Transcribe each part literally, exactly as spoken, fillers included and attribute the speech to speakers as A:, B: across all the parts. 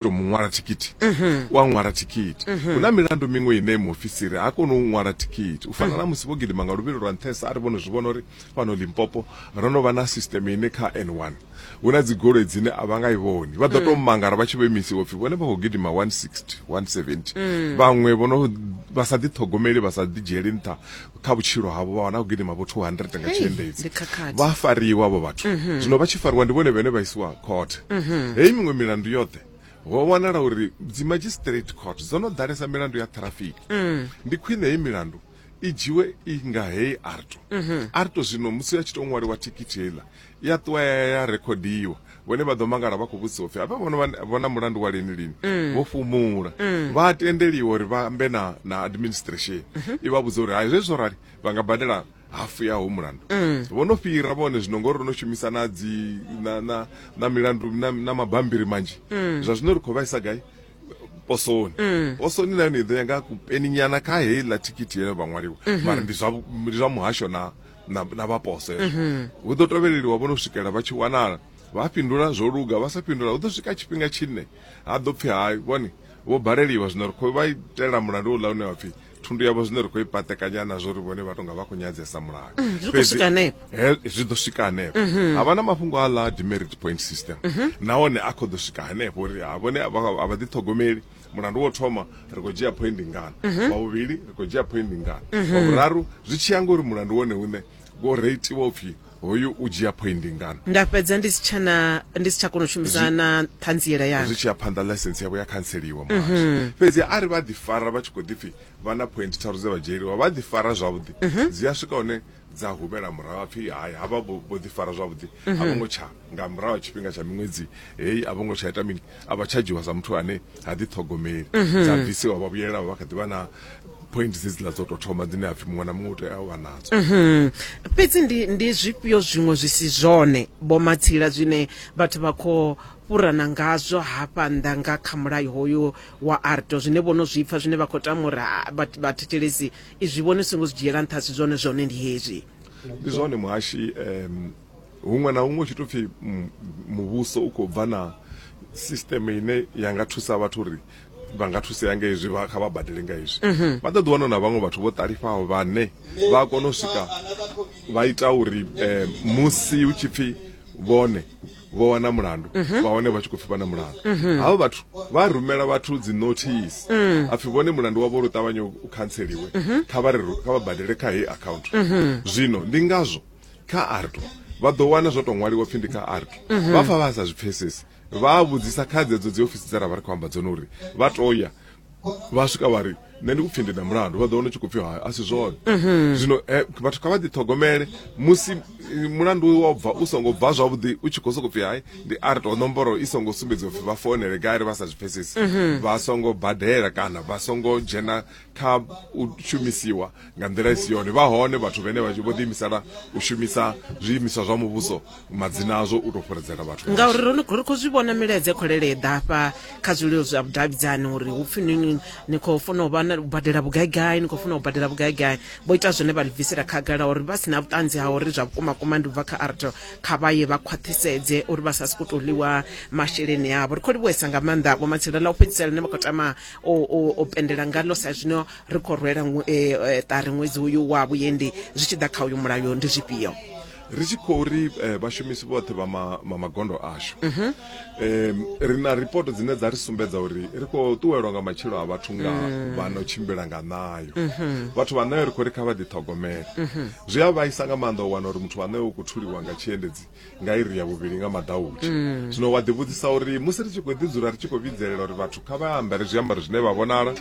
A: To mu ṅwala thikhithi, u a ṅwala thikhithi. Hu na milandu miṅwe ine muofisiri ha koni u ṅwala thikhithi, u fana na musi vho gidima nga luvhilo lwa nṱhesa. A ri vhone zwi vhona uri fhano Limpopo ro no vha na system ine kha N one hu na dzi goloi dzine a vha nga i vhoni, vha ḓo tou mangala vha tshi vho imisiwa pfhi vhone vha khou gidima one sixty, one seventy. Vhaṅwe vho no vha sa ḓiṱhogomeli, vha sa ḓi dzhieli nṱha kha vhutshilo havho, vha wana khou gidima vho two hundred nga tshiendedzi,
B: ndi khakhathi.
A: Vha fariwa vho vhathu. Zwino vha tshi fariwa ndi vhone vhene vha isiwa khothe. Heyi miṅwe milandu yoṱhe ho wanala uri dzi magistrate court dzo no ḓalesa milandu ya traffic. Ndi khwine heyi milandu i dzhiwe i nga heyi AARTO. AARTO zwino musi ya tshi to ṅwaliwa thikhithi heiḽa ya ṱuwa ya ya rekhodiwa, vhone vha ḓo mangala vha khou vhudzisa upfhi hafha vhono vhona mulandu wa lini lini, vho fhumula. Vha tendeliwa uri vha ambe na na administration i vha vhudza uri hai, zwezwi zwo rali vha nga badela hafu ya ho mulandu. Vho no fhira vhone zwino ngori ro no shumisa na dzi na na na milandu na, na mabambiri manzhi. Zwa zwino ri khou vhaisa gai posoni. Posoni na yone i ḓo ya nga kupeninyana kha heiḽa thikhithi ye vha ṅwaliwa, mara ndi zwa ndi zwa muhasho na na, na vha poso hezwo. Hu ḓo tovheleliwa vho no swikela vha tshi wanala. Vha fhindula zwo luga, vha sa fhindula hu ḓo swika tshifhinga tshine ha ḓo pfhi hai, vhone vho baleliwa. Zwino ri khou vha itela mulandu uḽa une wa pfhi thundu yavho zwine ri khou i patekanya nazwo uri vhone vha tonga vha khou nyadzesa mulayo.
B: Zwi khou swika hanefho.
A: He- zwi ḓo swika hanefho. Ha vha na mafhungo a ḽa demerit point system, nahone a khou ḓo swika hanefho uri ha vhone a vha a vha ḓiṱhogomeli. Mulandu wo thoma ri khou dzhia point ngana, wa vhuvhili ri khou dzhia point ngana, wa vhuraru, zwi tshi ya ngori mulandu wone une wo reitiwa upfhi hoyu u dzhia point ngana.
B: Nda fhedza ndi si tshana, ndi si tsha kona u shumisa na ṱhanziela yanga.
A: Zwi tshi ya phanḓa, ḽaisensi yavho ya khantseliwa muhasho. Fhedzi a ri vha ḓi fara vha tshi khou ḓipfhi vha na point tharu dze vha dzhieliwa, vha ḓi fara zwavhuḓi, dzi a swika hune dza humela murahu, pfhi hai, havha vho vho ḓi fara zwavhuḓi, a vho ngo tsha nga murahu ha tshifhinga tsha miṅwedzi heyi a vho ngo tsha ita mini, a vha tsha dzhiwa sa muthu ane ha ḓiṱhogomeli, dza bvisiwa, vha vhuyelela vha kha ḓi vha na point dzedziḽa dzo tou thoma dzine ha pfhi muṅwe na muṅwe u tea u vha nadzo.
B: Fhedzi ndi ndi zwifhio zwiṅwe zwi si zwone, Vho Matsila, zwine vhathu vha khou fhurana ngazwo hafha nnḓa nga kha mulayo hoyu wa AARTO, zwine vho no zwi pfa, zwine vha khou tama uri ah, vha- vhathetshelesi izwi vhone songo zwi dzhiela nṱha, si zwone, zwone ndi hezwi?
A: Ndi zwone muhashi, um huṅwe na huṅwe u tshi tou pfhi mm, muvhuso u khou bva na system ine ya nga thusa vhathu uri vha nga thusea nga hezwi, vha kha vha badele nga hezwi, vha ḓo ḓi wana na vhaṅwe vhathu vho ṱalifhaho vhane vha kona u swika vha ita uri eh, musi hu tshi pfhi vhone vho wana mulandu, vha wane vha tshi khou pfhi vha na mulandu. Havho vhathu vha rumela vhathu dzi notice, a pfhi vhone mulandu wavho uri u ṱavhanye u khantseliwe, kha vha ri kha vha badele kha heyi account. Zwino ndi ngazwo kha AARTO vha ḓo wana zwo to ṅwaliwa pfhi ndi kha AARTO. Vha pfa vha sa zwi pfesesi, vha vhudzisa kha dzedzo dzi ofisi dze ra vha ri khou amba dzone uri vha to ya vha swika vha ri nṋe ndi kupfhi ndi na mulandu, vha ḓo wana u tshi khou pfhi hai, a si zwone. Zwino eh, vhathu kha vha ḓiṱhogomele musi eh, mulandu wa bva u songo bva zwavhuḓi, u tshi khou sokou pfhi hai ndi AARTO, nomboro i songo sumbedziwa pfhi vha founele gai, ri vha sa zwi pfesesi vha songo badela kana vha songo dzhena kha u shumisiwa nga nḓila i si yone. Vha hone vhathu vhene vha vho ḓiimisela u shumisa zwiimiswa zwa muvhuso, madzina azwo, u tou fhuredzela vhathu.
B: Ngauri ro no- ri khou zwi vhona milaedza i khou leleḓa hafha kha zwililo zwa vhudavhidzani uri hu pfhi ni ni khou funa u vha na u badela vhugaigai, ni khou funa u badela vhugaigai. Vho ita zwone vha ḽi bvisela khagala uri vha si na vhuṱanzi ha uri zwa vhukuma kuma ndi u bva kha AARTO, kha vha ye vha khwaṱhisedze uri vha sa sokou tou ḽiwa masheleni avho. Ri khou livhuwesa nga maanḓa, Vho Matsila. Ḽa u fhedzisela ḽine vha khou tama u, u, u pendela ngalo sa zwino ri khou rwela ṅwe- eh, eh, ṱari ṅwedzi uyu wa vhuendi, zwi tshi ḓa kha uyu mulayo ndi zwifhio?
A: Ri tshi khou ri eh, vhashumisi vhoṱhe vha ma, ma magondo ashu, um ri na ripoto dzine dza ri sumbedza uri ri khou ṱuwelwa nga matshilo a vhathu nga vha no tshimbila nga ṋayo. Vhathu vha ṋayo ri khou ri kha vha ḓiṱhogomele. Zwi a vhaisa nga maanḓa u wana uri muthu wa ṋayo u khou thuliwa nga tshiendedzi nga iri ya vhuvhili nga maḓautsha. Zwino wa ḓivhudzisa uri musi ri tshi khou ḓi dzula ri tshi khou vhidzelela uri vhathu kha vha ambare zwiambaro zwine vha vhonala,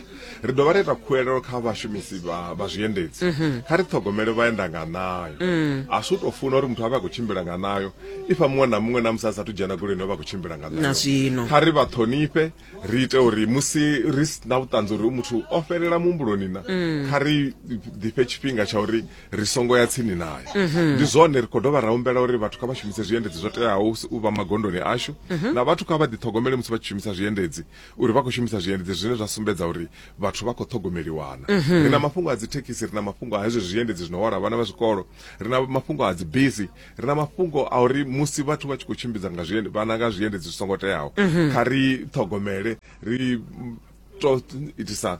A: ri dovha ra ita khuwelelo kha vhashumisi vha, vha zwiendedzi, kha ri ṱhogomele vhaenda nga ṋayo. A si u tou funa uri muthu a vhe a khou tshimbila nga ṋayo, ifha muṅwe na muṅwe na musi a sathu dzhena goloini o vha a khou tshimbila nga
B: Na
A: ṋayo.
B: Zwino
A: kha ri vha ṱhonifhe, ri ite uri musi ri si na vhuṱanzi uri muthu o fhelela muhumbuloni na, kha ri ḓifhe tshifhinga tsha uri ri songo ya tsini naye. Ndi zwone ri khou dovha ra humbela uri vhathu kha vha shumise zwiendedzi zwo teaho u vha magondoni ashu, na vhathu kha vha ḓiṱhogomele musi vha tshi shumisa zwiendedzi uri vha khou shumisa zwiendedzi zwine zwa sumbedza uri vhathu vha khou ṱhogomeliwana. Ri na mafhungo a dzi thekhisi, ri na mafhungo a hezwi zwiendedzi zwino hwala vhana vha zwikolo, ri na mafhungo a dzi bisi. thekhisi ri na mafhungo a uri musi vhathu vha tshi khou tshimbidza nga zwiende vhana nga zwiendedzi zwi songo teaho, kha ri ṱhogomele ri to itisa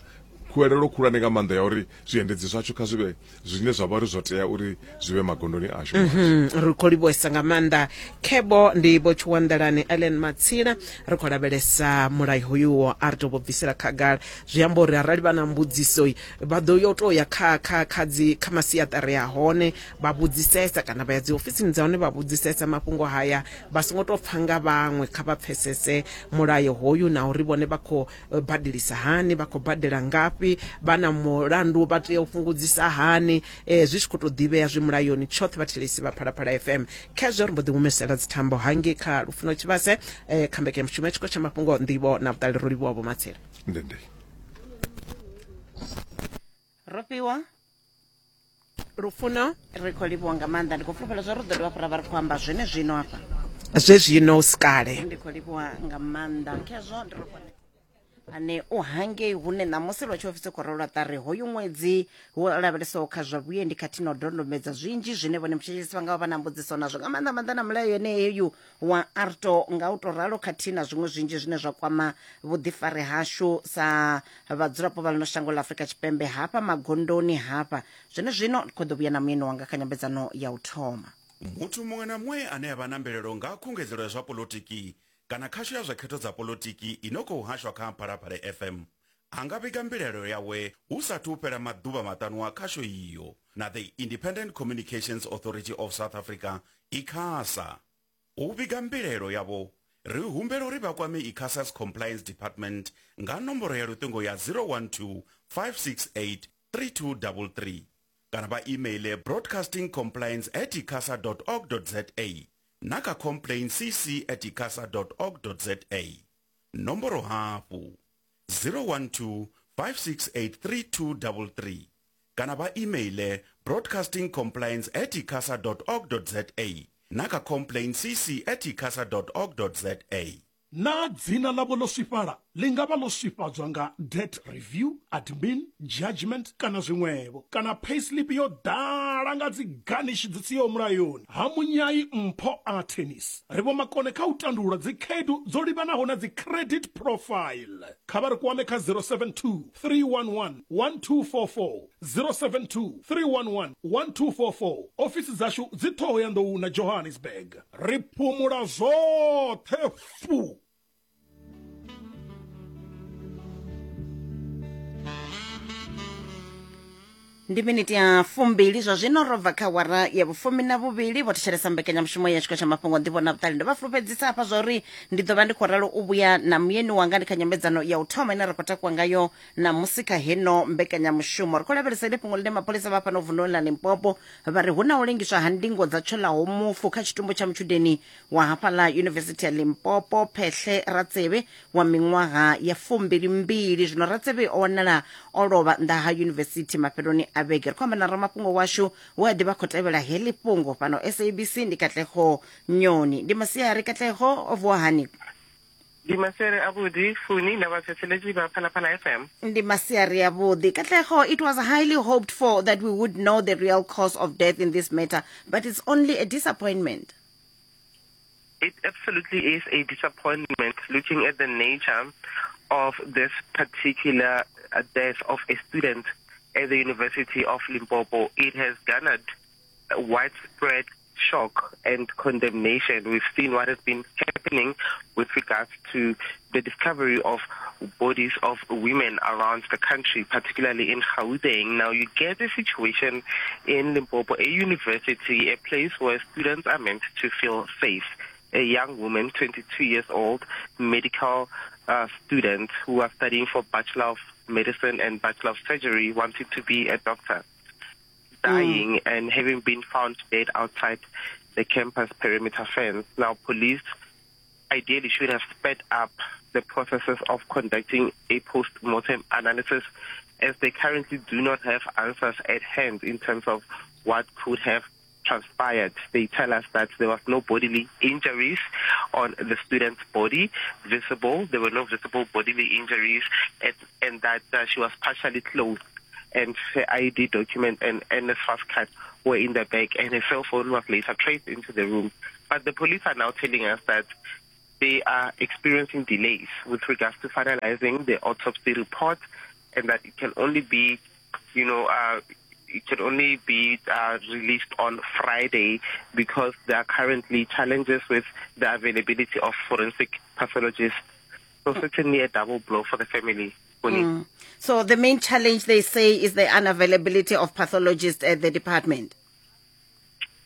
A: khuwelelo khulwane nga maanḓa ya uri zwiendedzi zwashu kha zwi vhe zwine zwa vha uri zwo tea uri zwi vhe magondoni ashu.
B: Ri khou livhuwesa nga maanḓa. Khebo ndi Vho Tshiwanḓalani Ellen Matsila, ri khou lavhelesa mulayo hoyu a ri tou vho bvisela khagala. Zwi amba uri arali vha na mbudziso vha ḓo yo tou ya kha kha kha dzi kha masiaṱari a hone vha vhudzisesa, kana vha ya dzi ofisini dza hone vha vhudzisesa mafhungo haya, vha songo tou pfa nga vhaṅwe, kha vha pfesese mulayo hoyu na uri vhone vha khou badelisa hani, vha khou badela ngafhi, vha na mulandu vha tea u fhungudzisa hani, eh, zwi tshi khou tou ḓivhea zwi mulayoni tshoṱhe. Vhathetshelesi vha Phalaphala F M, khezwo ri mbo ḓi humesela dzithambo hangei kha Lufuno Tshivhase, eh, kha mbekanyamushumo ya tshiko tsha mafhungo nḓivho na vhuṱali. Ro livhuwa Vho Matsila.
A: Ndende
C: Rofhiwa
B: Lufuno,
C: ri khou livhuwa nga maanḓa. Ndi khou fulufhela zwa ri ḓo dovha hafhu ra vha ri khou amba zwene zwino hafha
B: zwe zwino usikale.
C: Ndi khou livhuwa nga maanḓa. Khezwo ndi ro ane u hangei hune ṋamusi lwa tshiofisi khou rwelwa ṱari hoyu ṅwedzi wo lavhelesaho kha zwa vhuendi khathihi na u dondomedza zwinzhi zwine vhone mutshetshelesi vha nga vha vha na mbudziso nazwo nga maanḓa maanḓa na mulayo yeneyo wa AARTO nga u tou ralo, khathihi na zwiṅwe zwinzhi zwine zwa kwama vhuḓifari hashu sa vhadzulapo vha ḽino shango ḽa Afrika Tshipembe hafha magondoni hafha. Zwene zwino ndi khou ḓo vhuya na muyeni wanga kha nyambedzano ya u thoma.
D: Muthu muṅwe na muṅwe ane a vha na mbilaelo nga khungedzelo ya zwa polotiki kana khasho ya zwa khetho dza polotiki ino khou hashwa kha Phalaphala F M a nga vhiga mbilaelo yawe hu sathu fhela maḓuvha maṱanu a khasho iyo na the Independent Communications Authority of South Africa ICASA. U vhiga mbilaelo yavho ri humbela uri vha kwame ICASA's Compliance Department nga nomboro ya luṱingo ya zero one two five six eight three two three three kana vha emaile broadcasting compliance at icasa dot org dot za na kha complaint c c at icasa dot org dot za. Nomboro hafhu zero one two five six eight three two three three kana vha emaile broadcasting compliance at icasa dot org dot za na kha complaint c c at icasa dot org dot za.
E: Na dzina ḽavho ḽo swifhala ḽi nga vha ḽo swifhadzwa nga debt review, admin, judgment kana zwiṅwevho, kana payslip yo ḓala nga dzi garnish dzi siho mulayoni. Ha Munyai Mpho a Tennis ri vho makone kha u tandulula dzi khaedu dzo livhanaho na dzi credit profile. Kha vha ri kwame kha zero seven two three one one one two four four, zero seven two three one one one two four four. Ofisi dzashu dzi Thohoyandou na Johannesburg. Ri phumula zwoṱhe fu.
C: Ndi miniti ya fumbili zwa zwino ro bva kha wara ya vhufumi na vhuvhili. Vho thetshelesa mbekanyamushumo ya tshiko tsha mafhungo nḓivho na vhuṱali. Ndo vha fulufhedzisa hafha zwa uri ndi ḓo vha ndi khou ralo u vhuya na muyeni wanga ndi kha nyambedzano ya u thoma ine ra khou takuwa ngayo ṋamusi kha heno mbekanyamushumo. Ri khou lavhelesa ili fhungo ḽine mapholisa vha fhano vunḓuni ḽa Limpopo vha ri hu na u lengiswa ha ndingo dza tswelaho mufu kha tshitumbu tsha mutshudeni wa hafhaḽa Yunivesithi ya Limpopo Phehle Ratsebe wa miṅwaha ya fumbilimbili. Zwino Ratsebe o wanala o lovha nnḓa ha yunivesithi mafheloni a vhege. Ri khou amba na ramafhungo washu we a ḓivha khou tevhela heḽi fhungo fhano S A B C ndi Katlego Nyoni. Ndi masiari Katlego, o vuwa hani?
F: Ndi masiari avhuḓi Funi na vhathetshelesi vha Phalaphala F M.
C: Ndi masiari avhuḓi Katlego. It was highly hoped for that we would know the real cause of death in this matter, but it's only a disappointment.
F: It absolutely is a disappointment looking at the nature of this particular death of a student at the University of Limpopo. It has garnered widespread shock and condemnation. We've seen what has been happening with regards to the discovery of bodies of women around the country, particularly in Gauteng. Now, you get a situation in Limpopo, a university, a place where students are meant to feel safe. A young woman, twenty-two years old, medical uh, student who was studying for Bachelor of Medicine and Bachelor of Surgery, wanted to be a doctor, dying mm. and having been found dead outside the campus perimeter fence. Now, police ideally should have sped up the processes of conducting a post-mortem analysis, as they currently do not have answers at hand in terms of what could have transpired. They tell us that there was no bodily injuries on the student's body visible. There were no visible bodily injuries, and, and that uh, she was partially clothed and her I D document and N S F A S card were in the bag, and her cell phone was later traced into the room. But the police are now telling us that they are experiencing delays with regards to finalizing the autopsy report, and that it can only be, you know, uh, it can only be uh, released on Friday because there are currently challenges with the availability of forensic pathologists. So certainly a double blow for the family.
C: Mm. So the main challenge, they say, is the unavailability of pathologists at the department.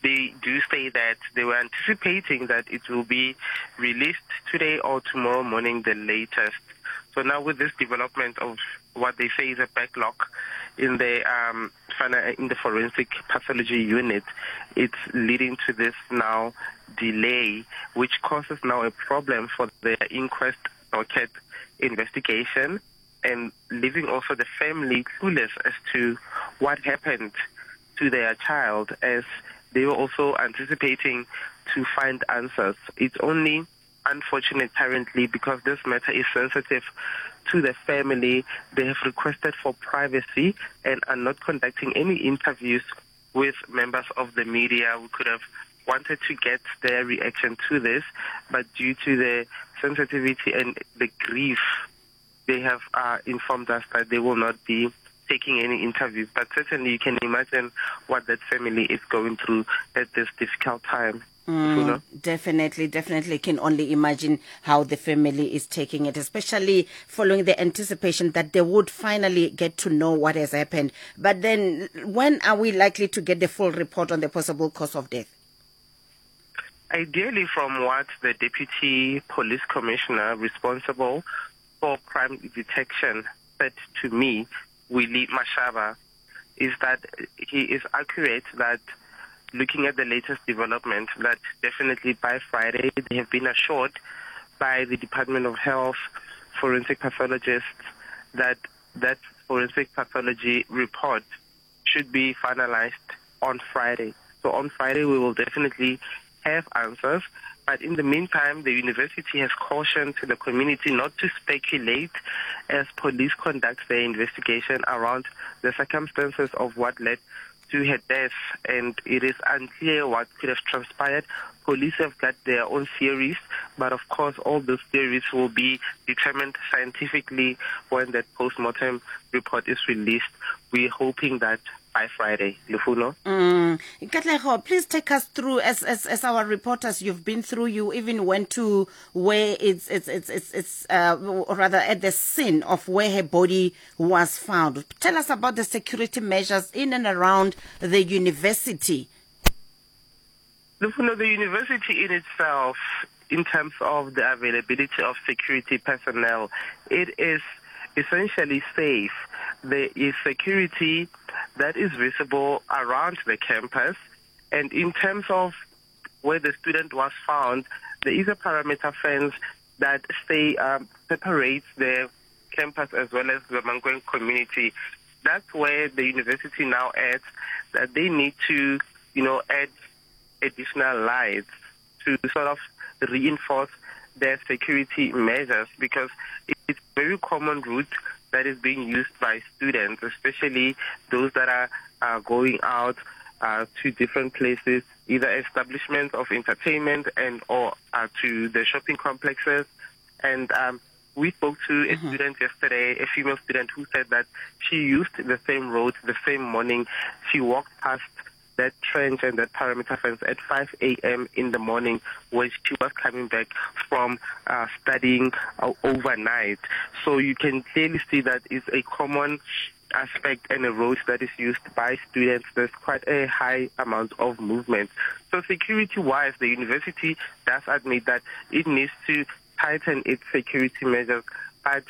F: They do say that they were anticipating that it will be released today or tomorrow morning, the latest. So now with this development of what they say is a backlog in the, um, in the forensic pathology unit, it's leading to this now delay, which causes now a problem for the inquest docket investigation, and leaving also the family clueless as to what happened to their child, as they were also anticipating to find answers. It's only unfortunate currently because this matter is sensitive to the family. They have requested for privacy and are not conducting any interviews with members of the media. We could have wanted to get their reaction to this, but due to the sensitivity and the grief, they have uh, informed us that they will not be taking any interviews. But certainly you can imagine what that family is going through at this difficult time.
C: Mm, definitely, definitely can only imagine how the family is taking it, especially following the anticipation that they would finally get to know what has happened. But then when are we likely to get the full report on the possible cause of death?
F: Ideally, from what the Deputy Police Commissioner responsible for crime detection said to me, Willie Mashaba, is that he is accurate that looking at the latest development, that definitely by Friday they have been assured by the Department of Health, forensic pathologists, that that forensic pathology report should be finalized on Friday. So on Friday we will definitely have answers. But in the meantime, the university has cautioned the community not to speculate as police conduct their investigation around the circumstances of what led to her death, and it is unclear what could have transpired. Police have got their own theories, but of course all those theories will be determined scientifically when that post-mortem report is released. We're hoping that by Friday. Lufuno.
C: Mm. Katlego, please take us through, as, as as our reporters, you've been through, you even went to where it's, it's, it's, it's, it's uh, or rather at the scene of where her body was found. Tell us about the security measures in and around the university.
F: Lufuno, the university in itself, in terms of the availability of security personnel, it is essentially safe. There is security that is visible around the campus. And in terms of where the student was found, there is a perimeter fence that stay, um, separates the campus as well as the Mankweng community. That's where the university now adds that they need to, you know, add additional lights to sort of reinforce their security measures, because it's a very common route that is being used by students, especially those that are, are going out uh, to different places, either establishments of entertainment and or uh, to the shopping complexes. And um, we spoke to a mm-hmm. student yesterday, a female student, who said that she used the same road the same morning. She walked past that trench and that perimeter fence at five a.m. in the morning when she was coming back from uh, studying uh, overnight. So you can clearly see that it's a common aspect and a road that is used by students. There's quite a high amount of movement. So security-wise, the university does admit that it needs to tighten its security measures, but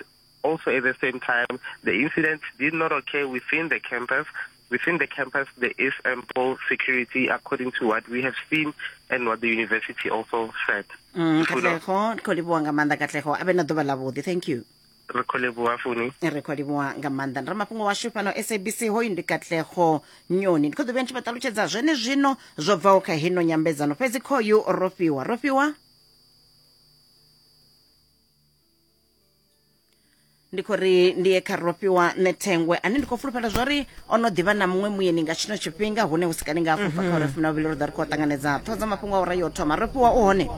F: also at the same time, the incident did not occur within the campus. Within the campus, there is ample security according to what we have seen and what the university also said.
C: Mm, Katlego, khou livhuwa nga maanḓa Katlego. A vhe na ḓuvha ḽavhuḓi. Thank you.
F: Re khou livhuwa Funi.
C: Re khou livhuwa nga maanḓa. Ramafhungo washu fhano S A B C hoyu ndi Katlego Nyoni. Ndi khou ḓo vhuya ndi tshi vha ṱalutshedza zwene zwino zwo bvaho kha hino nyambedzano. Fhedzi khoyu Rofhiwa. Rofhiwa? Ndi khou ri ndi ye kha Rofhiwa Nethengwe ane ndi khou fulufhela zwori o no ḓivha na muṅwe muyeni nga tshino tshifhinga hune hu si kale nga afho bva kha uri funa vhuvhili ri ḓo ri khou ṱanganedza ṱhoho dza mafhungo a ura yo thoma. Rofhiwa u hone?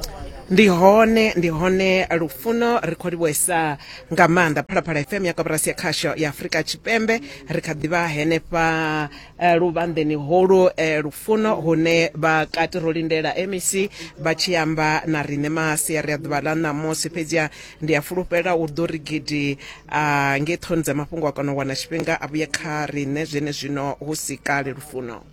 B: Ndi hone, ndi hone Lufuno, ri khou livhuwesa nga maanḓa Phalaphala F M ya koporasi ya khasho ya Afrika Tshipembe. Ri kha ḓivha henefha eh, luvhanḓeni holu eh, Lufuno, hune vha kati ro lindela M E C vha tshi amba na riṋe masiari a ḓuvha ḽa ṋamusi. Fhedziha ndi a fulufhela u ḓo ri gidi uh, nge ṱhoni dza mafhungo a kona u wana tshifhinga a vhuye kha riṋe zwene zwino hu si kale. Lufuno,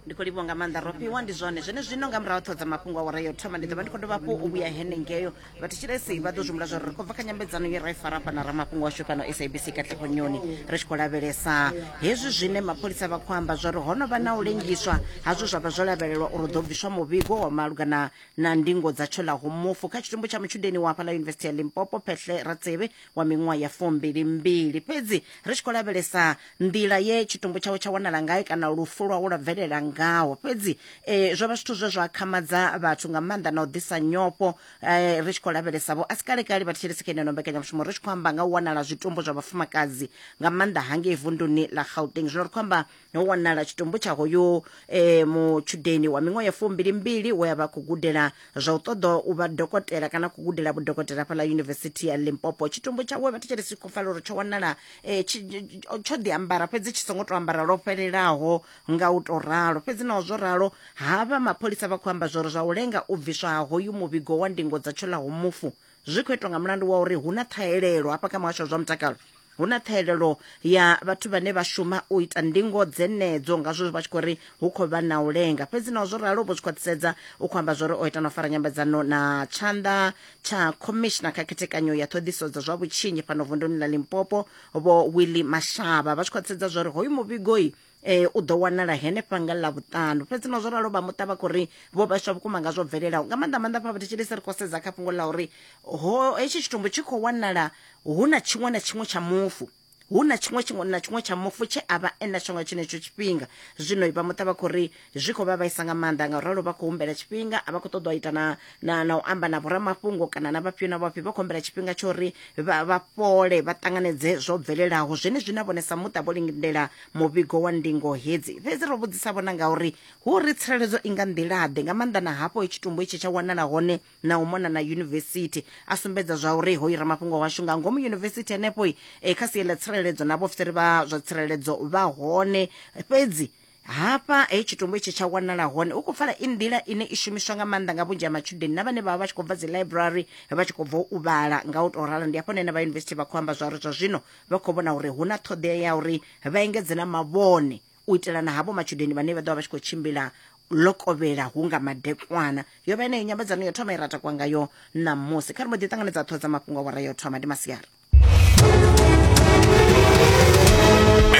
C: ndi khou livhuwa nga maanḓa Rofhiwa. Ndi zwone zwene zwino nga murahu ṱhoho dza mafhungo a ura yo thoma ndi ḓo vha ndi khou dovha hafhu u vhuya henengeyo. Vhathetshelesi vha ḓo zwihumbula zwa uri ri khou bva kha nyambedzano ye ra i fara hafha na ramafhungo washu fhano S A B C Katlego Nyoni, ri tshi khou lavhelesa hezwi zwine mapholisa vha khou amba zwa uri ho no vha na u lengiswa hazwo zwa vha zwo lavhelelwa uri ḓo bviswa muvhigo wa malugana na ndingo dza tshoḽaho mufu kha tshitumbu tsha mutshudeni wa hafhaḽa Yunivesithi ya Limpopo Phehle Ratsebe wa miṅwaha ya fumbili mbili. Fhedzi ri tshi khou lavhelesa nḓila ye tshitumbu tshawe tsha wanala ngayo kana lufu lwawe lwa bvelela ngaho. Fhedzi eh, zwo vha zwithu zwe zwa khamadza vhathu nga maanḓa na u ḓisa nyofho. eh, ri tshi khou lavhelesa vho a si kale kale vhathetshelesi kha ino mbekanyamushumo ri tshi khou amba nga u wanala zwitumbu zwa vhafumakadzi nga maanḓa hangei vunduni ḽa Gauteng. Zwino ri khou amba ho wanala tshitumbu tsha hoyo eh, mutshudeni wa miṅwaha ya fumbili mbili we a vha khou gudela zwa u ṱoḓa u vha dokotela kana khou gudela vhudokotela fhaḽa Yunivesithi ya Limpopo. Tshitumbu tshawe vhathetshelesi khou pfala uri tsho wanala eh, tsho ḓi ambara fhedzi tshi songo to ambara lwo fhelelaho nga u to ralo. Fhedzi naho zwo ralo havha mapholisa vha khou amba zwori zwa u lenga u bviswa ha hoyu muvhigo wa ndingo dza tshoḽaho mufu zwi khou itwa nga mulandu wa uri hu na ṱhahelelo hafha kha muhasho wa zwa mutakalo. Hu na ṱhahelelo ya vhathu vhane vha shuma u ita ndingo dzenedzo, ngazwo vha tshi khou ri hu khou vha na u lenga. Fhedzi naho zwo ralo vho zwi khwaṱhisedza u khou amba zwori o ita na u fara nyambedzano na tshanḓa tsha commissioner kha khethekanyo ya ṱhoḓiso dza zwa vhutshinyi fhano vunduni ḽa Limpopo vho Willie Mashaba, vha tshi khwaṱhisedza zwori hoyu muvhigoi eh u ḓo wanala henefha nga ḽavhuṱanu. Fhedzi na zwo ralo vha muṱa vha khou ri vho vhaiswa vhukuma nga zwo bvelelaho nga maanḓa maanḓa fha vhathetshelesi ri khou sedza kha fhungo ḽa uri ho hetshi tshitumbu tshi khou wanala hu na tshiṅwe na tshiṅwe tsha mufu, hu na tshiṅwe tshiṅwe na tshiṅwe tsha mufu tshe a vha e natsho nga tshenetsho tshifhinga. Zwino vha muṱa vha khou ri zwi khou vha vhaisa nga maanḓa, nga ralo vha khou humbela tshifhinga, a vha khou ṱoḓa u ita na na na u amba na vhoramafhungo kana na vhafhio na vhafhio, vha khou humbela tshifhinga tsho uri vha vha fhole vha ṱanganedze zwo bvelelaho. Zwenezwi na vhone sa muṱa vho lindela muvhigo wa ndingo hedzi. Fhedzi ro vhudzisa vhona ngauri hu ri tsireledzo i nga nḓila ḓe nga maanḓa na hafho tshitumbu itshi tsha wanala hone na u mona na yunivesithi, a sumbedza zwa uri hoyu ramafhungo washu nga ngomu yunivesithi henefho e kha sia ḽa tsireledzo na vhaofisiri vha zwa tsireledzo vha hone. Fhedzi hafha he tshitumbu itshi tsha wanala hone u khou pfala i nḓila ine i shumiswa nga maanḓa nga vhunzhi ha matshudeni na vhane vha vha vha tshi khou bva dzi library vha tshi khou bva u vhala nga u tou ralo. Ndi hafho hune vha yunivesithi vha khou amba zwa uri zwa zwino vha khou vhona uri hu na ṱhoḓea ya uri vha engedze na mavhone u itela na havho matshudeni vhane vha ḓo vha vha tshi khou tshimbila ḽo kovhela hu nga madekwana. Yo vha yeneyo nyambedzano yo thoma i ratakwa ngayo ṋamusi. Kha ri mbo ḓi ṱanganedza ṱhoho dza mafhungo a wara yo thoma. Ndi masiari.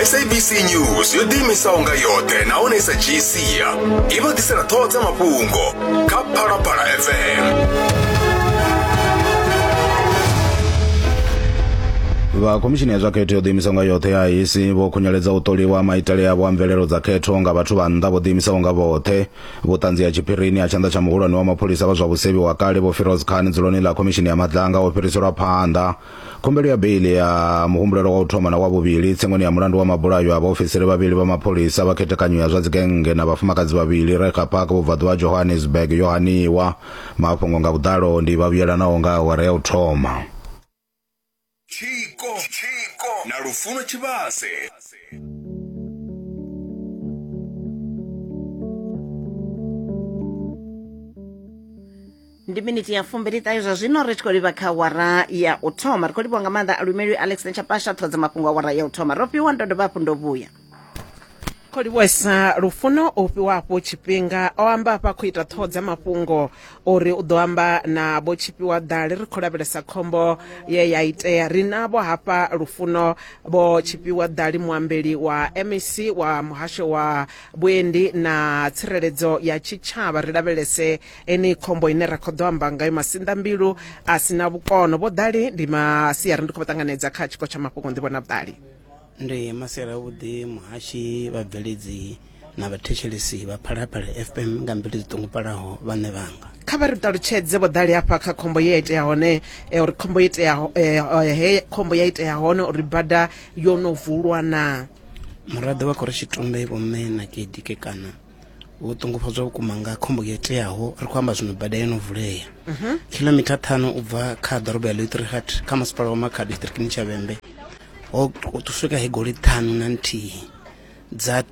G: S A B C News yo ḓiimisaho nga yoṱhe nahone i sa dzhii sia i vha ḓisela ṱhoho dza mafhungo kha Phalaphala F M.
D: Vha khomishini ya zwa khetho yo ḓiimisaho nga yoṱhe ya I E C vho khunyeledza u ṱoliwa maitele avho a mvelelo dza khetho nga vhathu vha nnḓa vho ḓiimisaho nga vhoṱhe. Vhuṱanzi ha tshiphirini ha tshanḓa tsha muhulwane wa mapholisa vha zwa vhusevhi wa kale Vho Firoz Khan dzuloni ḽa khomishini ya Madlanga ho fhiriselwa phanḓa. Khumbelo ya beili ya muhumbulelwa wa u thoma na wa vhuvhili tsengoni ya mulandu wa mabulayo a vhaofisiri vhavhili vha mapholisa vha khethekanyo ya zwa dzigennge na vhafumakadzi vhavhili Reiger Park vhubvaḓuvha Johannesburg yo haniwa. Mafhungo nga vhuḓalo ndi vha vhuyelanaho nga awara ya u thoma.
G: Tshiko na Lufuno Tshivhase.
C: Ndi miniti ya fumbili ṱahe zwa zwino ri tshi khou livha kha wara ya u thoma. Ri khou livhuwa nga maanḓa Alumeli Alex Nechapasha ṱhoho dza mafhungo a wara ya u thoma. Ro fhiwa ndo dovha hafhu ndo vhuya.
B: Khou livhuwesa Lufuno o fhiwa hafho tshifhinga o amba hafha khou ita ṱhoho dza mafhungo uri u ḓo amba na vho Tshifhiwa Ḓali. Ri khou lavhelesa khombo ye ya itea. Ri navho hafha Lufuno vho Tshifhiwa Ḓali, muambeli wa M E C wa muhasho wa vhuendi na tsireledzo ya tshitshavha. Ri lavhelese ene khombo ine ra khou ḓo amba ngayo, masinḓambilu a si na vhukono. Vho Ḓali, ndi masiari, ndi khou vha ṱanganedza kha tshiko tsha mafhungo. Ndi vhona Vhuṱali.
H: Ndi masiari avhuḓi muhashi, vhabveledzi na vhathetshelesi vha Phalaphala F M nga mbilu dzi ṱungufhalaho vhaṋe vhanga.
B: Kha vha ri ṱalutshedze vho ḓali hafha kha khombo ye ya itea hone, uri khombo itea he khombo ya itea hone uri bada yo no vulwa na.
H: Muraḓo wa khorotshitumbe vho mme na Kedike kana vho ṱungufhadzwa vhukuma nga khombo yo iteaho. Ri khou amba zwino bada yo no vulea kilomitha ṱhanu u bva kha ḓorobo ya Lootrigat kha masipala wa Makhado distrikini tsha Vhembe. Ho swika he goloi ṱhanu na nthihi dza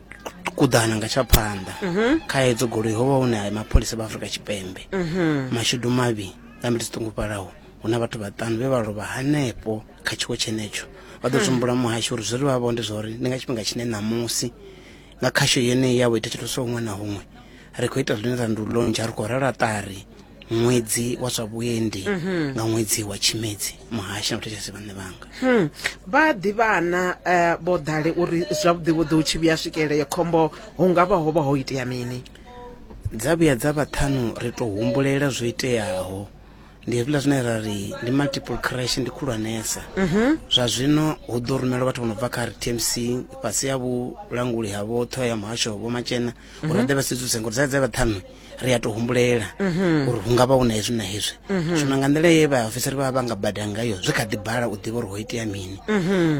H: kuḓana nga tsha phanḓa. Kha hedzo goloi ho vha hu na mapholisa vha Afrika Tshipembe. Mashudu mavhi nga mbilu dzi ṱungufhalaho hu na vhathu vhaṱanu vhe vha lovha hanefho kha tshiwo tshenetsho. Vha ḓo tsumbula muhasho uri zwi ri vha vho ndi zwa uri ndi nga tshifhinga tshine ṋamusi nga khasho yeneyi ya u ita tshithu huṅwe na huṅwe ri khou ita zwine ra ndi u lontsha, ri khou rala ṱari ṅwedzi wa zwa vhuendi nga ṅwedzi wa Tshimedzi. Muhashi na vhathetshelesi vhaṋe vhanga
B: vha ḓivhana vho ḓale uri zwavhuḓi vhuḓi hu tshi vhuya swikela ya khombo hu nga vha ho vha ho itea mini?
H: Dza vhuya dza vhaṱhanu ri tou humbulela zwo iteaho. Ndi hezwiḽa zwine ra ri ndi multiple crash, ndi khulwanesa. Zwa zwino hu ḓo rumelwa vhathu vho no bva kha R T M C fhasi ya vhulanguli ha vho ṱhoho ya muhasho vho Matshena uri vha ḓe vha sedzuse, ngori dza dza vhaṱhanu ri a tou humbulela uri hu nga vha hu na hezwi na hezwi. Zwino nga nḓila ye vhaofisiri vha vha nga bada ngayo zwi kha ḓi bala u ḓivha uri ho itea mini,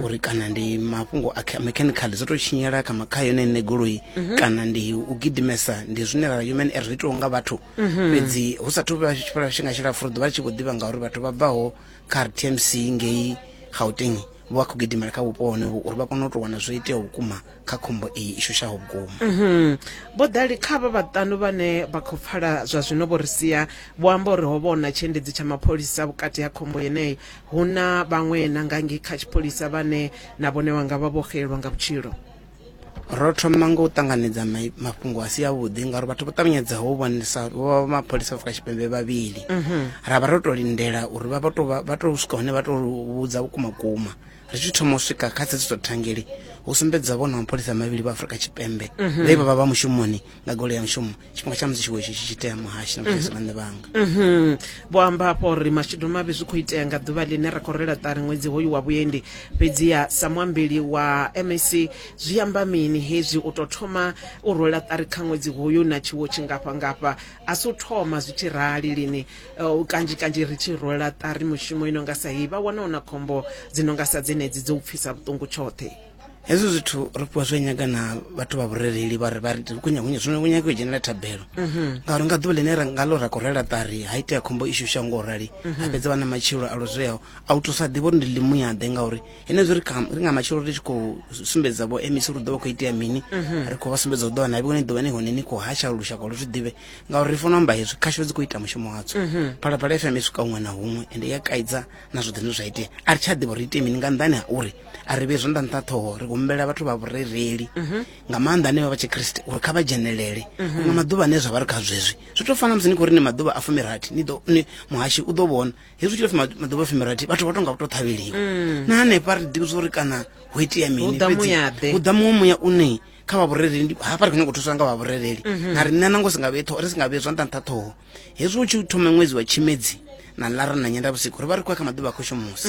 H: uri kana ndi mafhungo a mechanical zwo tou tshinyela kha kha yone ine goloi, kana ndi u gidimesa, ndi zwine ra human error zwi itiwaho nga vhathu. Fhedzi hu sathu vha tshifhinga tshilapfhu ri ḓo vha tshi vho ḓivha ngauri vhathu vha bvaho kha R T M C ngei Gauteng vho vha khou gidimela kha vhupo honovho uri vha kone u tou wana zwo iteaho vhukuma kha khombo iyi i shushaho vhukuma.
B: Vho ḓali kha vha vhaṱanu vhane vha khou pfala zwa zwino vho ri sia vho amba uri ho vha hu na tshiendedzi tsha mapholisa vhukati ha khombo yeneyi, hu na vhaṅwe na nga ngei kha tshipholisa vhane na vhone vha nga vha vho xelelwa nga vhutshilo.
H: Ro thoma nga u ṱanganedza mafhungo a si avhuḓi ngauri vhathu vho ṱavhanyedzaho u vhonesa vho vha mapholisa Afrika Tshipembe vhavhili. Ra vha ro tou lindela uri vha tou vha tou swika hone vha tou vhudza vhukuma kuma. Ri tshi thoma u swika kha tsedzuluso thangeli hu sumbedza vhona mapholisa mavhili vha Afrika Tshipembe vhe vha vha vha mushumoni nga goloi ya mushumo tshifhinga tsha musi tshiwo itshi tshi itea muhashi na vhathetshelesi vhaṋe vhanga.
B: Vho amba hafho uri mashudu mavhi zwi khou itea nga ḓuvha ḽine ra khou rela ṱari ṅwedzi hoyu wa vhuendi. Fhedziha sa muambeli wa M A C zwi amba mini hezwi u tou thoma u rwela ṱari kha ṅwedzi hoyu na tshiwo tshingafha ngafha? A si u thoma zwi tshi rali lini, kanzhi kanzhi ri tshi rwela ṱari mushumo ino nga sa heyi vha wana hu na khombo dzi no nga sa dzenedzi dzo u pfisa vhuṱungu tshoṱhe.
H: Hezwi zwithu ri fhiwa zwi nyaga na vhathu vha vhurereli vha ri vha ri kunya zwino kunyaga u dzhenela thabelo, ngauri nga ḓuvha ḽine nga ḽo ra khou rela ṱari ha itea khombo i shushaho ngo rali ha fhedza vha na matshilo a lozweaho a u thusa ḓivha uri ndi ḽimuyaḓe, ngauri henezwi ri ri nga matshilo ri tshi khou sumbedza vho M C uri ḓo vha khou itea mini, ri khou vha sumbedza u ḓo na vhone ḓuvha ni hone ni khou hasha lushaka lu zwi ḓivhe, ngauri ri funa amba hezwi khasho dzi khou ita mushumo wadzo. Phalaphala F M i swika huṅwe na huṅwe ende ya kaidza na zwoṱhe zwine zwa itea. A ri tsha ḓivha uri ite mini nga nnḓani ha uri a ri vhe zwanḓa nṱha ṱhoho, ri humbela vhathu vha vhurereli nga maanḓa ane vha vha tshikriste uri kha vha dzhenelele nga maḓuvha ane zwa vha ri kha zwezwi. Zwi tou fana musi ni khou ri ni maḓuvha a fumirathi ni ḓo muhashi u ḓo vhona hezwi tshi tou maḓuvha a fumirathi vhathu vha tonga vho tou ṱhavheliwa na hanefha ri ḓivhi uri kana ho itea mini, fhedzi hu ḓa muṅwe muya une kha vha vhurereli hafha ri khou nyanga u thuswa nga vha vhurereli na riṋe nango si nga vhe ṱhoho ri si nga vhe zwanḓa nṱha ṱhoho. Hezwi hu tshi thoma ṅwedzi wa Tshimedzi na lara na nyenda vhusiku ri vha ri khou ya kha maḓuvha a khushumusi,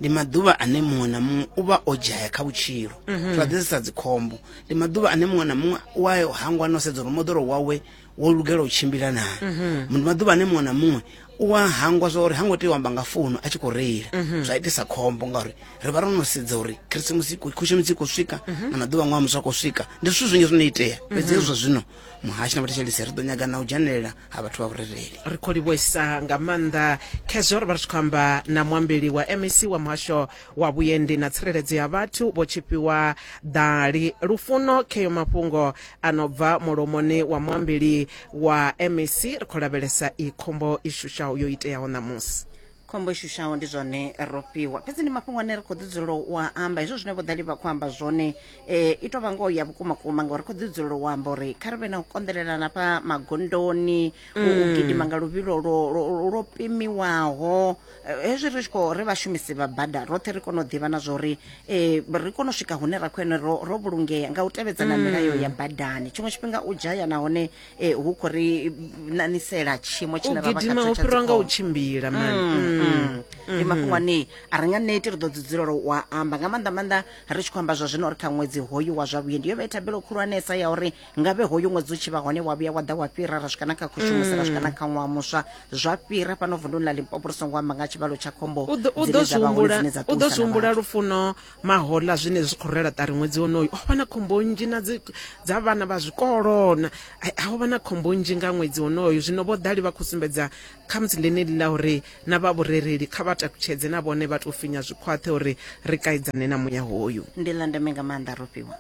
H: ndi maḓuvha ane muṅwe na muṅwe u vha o dzhaya kha vhutshilo, zwa ḓisisa dzikhombo. Ndi maḓuvha ane muṅwe na muṅwe u a hangwa no sedza uri moḓoro wawe wo lugela u tshimbila naa. Ndi maḓuvha ane muṅwe na muṅwe u a hangwa zwa uri ha ngo tea u amba nga founu a tshi khou reila, zwa itisa khombo ngauri ri vha ro no sedza uri Khirisimusi khushumusi i khou swika na maḓuvha ṅwaha muswa khou swika. Ndi zwithu zwinzhi zwino itea, fhedzi hezwi zwa zwino muhashi na vhathetshelesi ri ḓo nyaga na u dzhenelela ha vhathu vha vhurereli.
B: Ri khou livhuisa nga maanḓa khezwo ri vha ri tshi khou amba na muambeli wa M A C wa muhasho wa vhuendi na tsireledzo ya vhathu vho Tshifhiwa Ḓali. Lufuno kheyo mafhungo a no bva mulomoni wa muambeli wa M A C. Ri khou lavhelesa i khombo i shushaho yo iteaho ṋamusi.
C: Khombo i shushaho ndi zwone ro fhiwa, fhedzi ndi mafhungo ane ri khou ḓi dzulela u a amba. Hezwo zwine vho ḓali vha khou amba zwone um i tou vha ngoho ya vhukuma kuma, ngauri ri khou ḓi dzulela u amba uri kha ri vhe na u konḓelelana fha magondoni, u gidima nga luvhilo lwo lwo pimiwaho. Hezwi ri tshi khou ri vhashumisi vha bada roṱhe ri kone u ḓivha na zwa uri um ri kone u swika hune ra khou ene ro ro vhulungea nga u tevhedza na milayo ya badani. Tshiṅwe tshifhinga u dzhaya nahone um hu khou ri nanisela tshiimo tshine ra vha
B: gidima
C: khatsho
B: u
C: tsha
B: fhirwa nga u
C: dzikhombo.
B: tshimbila mani.
C: Mm. Ndi mafhungo ane a ri nga neti ri ḓo dzi dzulela wa amba nga maanḓa maanḓa ri tshi khou amba zwa zwino uri kha ṅwedzi hoyu wa zwa vhuendi yo vha i thabelo khulwanesa ya uri ngavhe hoyu ṅwedzi u tshi vha hone wa vhuya wa ḓa wa fhira ra swika na kha khushumusi ra swika na kha ṅwaha muswa zwa fhira fhano vunduni ḽa Limpopo ri songo amba nga tshivhalo tsha khombo
B: u ḓo- u
C: dzine
B: ḓo
C: dza vha hone
B: zwi
C: dzine dza
B: humbula u ḓo
C: ṱuwisa
B: zwi
C: na
B: humbula
C: vhathu.
B: Lufuno mahoḽa zwine zwi khou rela ṱari ṅwedzi wonoyu ho vha na khombo nnzhi na dzi dza vhana vha zwikolo na ai, ho vha na khombo nnzhi nga ṅwedzi wonoyu. Zwino vho ḓali vha khou sumbedza khamusi ḽeneḽi ḽa uri na vha vhurereli kha vha takutshedze na vhone vha tou finya zwikhwaṱhe uri ri kaidzane na muya hoyu.
C: Ndi ḽa ndeme nga maanḓa Rofhiwa,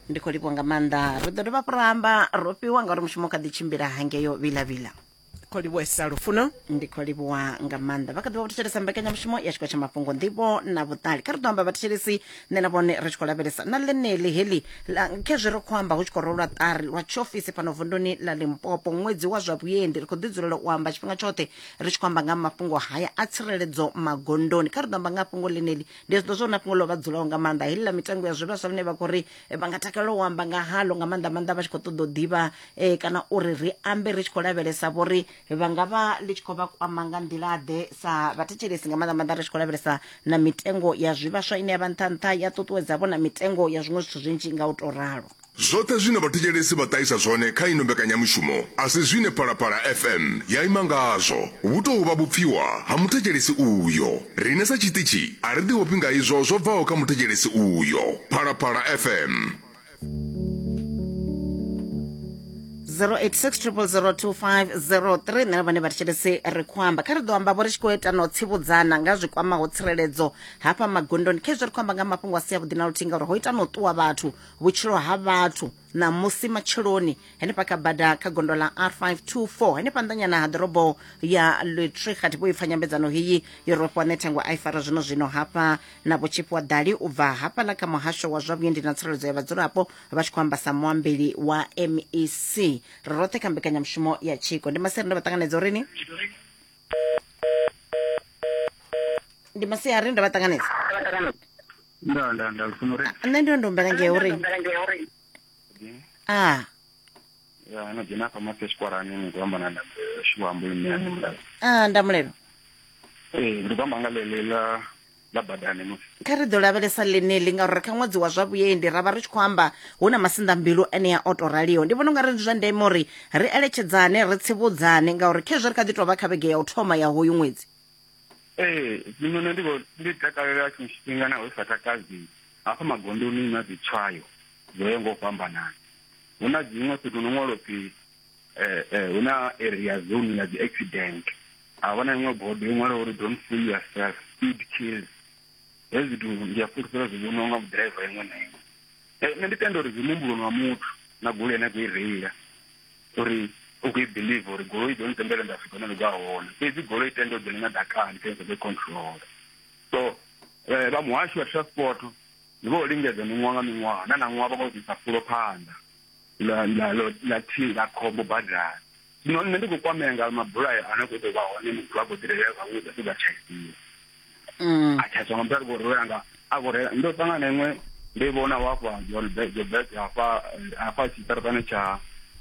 C: ndi khou livhuwa nga maanḓa. Ri ḓo dovha hafhu ra amba Rofhiwa ngauri mushumo u kha ḓi tshimbila hangeyo vhilavhila.
B: Khou livhuwesa Lufuno.
C: Ndi khou livhuwa nga maanḓa. Vha kha ḓi vha vho thetshelesa mbekanyamushumo ya tshiko tsha mafhungo nḓivho na vhuṱali. Kha ri ḓo amba vhathetshelesi nṋe na vhone ri tshi khou lavhelesa na ḽeneḽi heḽi ḽa- khezwi ri khou amba hu tshi khou rolwa ṱari lwa tshiofisi fhano vunduni ḽa Limpopo ṅwedzi wa zwa vhuendi. Ri khou ḓi dzulela u amba tshifhinga tshoṱhe ri tshi khou amba nga mafhungo haya a tsireledzo magondoni. Kha ri ḓo amba nga fhungo ḽeneḽi, ndi zwi ḓo zwo na fhungo ḽo vha dzulaho nga maanḓa heḽi ḽa mitengo ya zwivhaswa ḽine vha khou ri eh, vha nga takalela u amba nga halo nga maanḓa maanḓa vha tshi khou ṱoḓa u ḓivha eh, kana uri ri ambe ri tshi khou lavhelesa vhori vha nga vha ḽi tshi khou vha kwama nga nḓila ḓe sa vhathetshelesi nga maanḓa maanḓa ri tshi khou lavhelesa na mitengo ya zwivhaswa ine ya vha nṱha nṱha ya ṱuṱuwedza vho na mitengo ya zwiṅwe zwithu zwinzhi nga u tou ralo.
G: Zwoṱhe zwine vhathetshelesi vha ṱahisa zwone kha ino mbekanyamushumo a si zwine Phalaphala F M ya ima ngazwo. Vhu tou vha vhupfiwa ha muthetshelesi uyo. Riṋe sa tshiṱitshi a ri ḓiofhi nga izwo zwo bvaho kha muthetshelesi uyo. Phalaphala F M.
C: zero eight six triple zero two five zero three. Nṋe na vhone vhathetshelesi ri khou amba. Kha ri ḓo amba vho ri tshi khou ita na u tsivhudzana nga zwi kwamaho tsireledzo hafha magondoni. Khezwi ri khou amba nga mafhungo a si avhuḓi na luthihi ngauri ho ita na u ṱuwa vhathu vhutshilo ha vhathu ṋamusi matsheloni henefha kha bada kha gondo ḽa R five two four henefha nnḓanyana ha ḓorobo ya Lutrecht. Vho ipfa nyambedzano heyi yo rofhiwa ṋethengo a i fara zwino zwino hafha na Vho Tshifhiwa Ḓali u bva hafhaḽa kha muhasho wa zwa vhuendi na tsireledzo ya vhadzulapo vha tshi khou amba sa muambeli wa M E C. Ri roṱhe kha mbekanyamushumo ya tshiko. Ndi masiari ndo vha ṱanganedza urini? Ndi masiari ndo vha ṱanganedza.
I: Nda nda nda Lufuno ri.
C: Nṋe ndi ndo humbela ngei urini? Ah.
I: Ya no dzhena hafha masi tshikwarani ni khou amba na Shiwambo ine ya Ndamulelo.
C: Ah, Ndamulelo.
I: Eh, ndi khou amba nga ḽeḽi ḽa ḽa badani musi.
C: Kha ri ḓo lavhelesa ḽeneḽi ngauri kha ṅwedzi wa zwa vhuendi ra vha ri tshi khou amba hu na masinḓambilu ane a o tou raliho. Ndi vhona ungari ndi zwa ndeme uri ri eletshedzane ri tsivhudzane ngauri khezwi ri kha ḓi tou vha kha vhege ya u thoma ya hoyu ṅwedzi.
I: Ee, zwino nṋe ndi vho ndi takalela tshiṅwe tshifhinga naho sa takadzi hafha magondoni na dzi tswayo dzo yaho nga u fhambanana. Hu na dziṅwe fhethu no ṅwalwa upfi eh eh hu na area zone ya dzi accident. A vha na iṅwe bodo yo ṅwalwa uri don't fool yourself, speed kills. Hezwi zwithu ndi a fulufhela zwi vhoniwa nga ḓiraiva iṅwe na iṅwe. Eh, nṋe ndi tenda uri zwi muhumbuloni wa muthu na goloi ane a khou i reila uri u khou i believe uri goloi i ḓo ntendela nda swika hune nda khou ya hone, fhedzi goloi i tenda u dzhena na ḓakani kha i control. So eh, vha muhasho wa transport ndi vho lingedza miṅwaha nga miṅwaha na ṋaṅwaha vha khou ḓisa fulo phanḓa la la la thi la khombo badani. Zwino nṋe ndi khou kwamea nga mabulayo ane khou ḓo vha hone muthu a khou ḓirelela zwavhuḓi a fhedza a tshaisiwa.
C: Mm.
I: A tshaiswa nga muthu a ri khou reila nga a khou reila. Ndo ṱangana na iṅwe ndo i vhona hafha Johannesburg hafha hafha tshiṱaratani tsha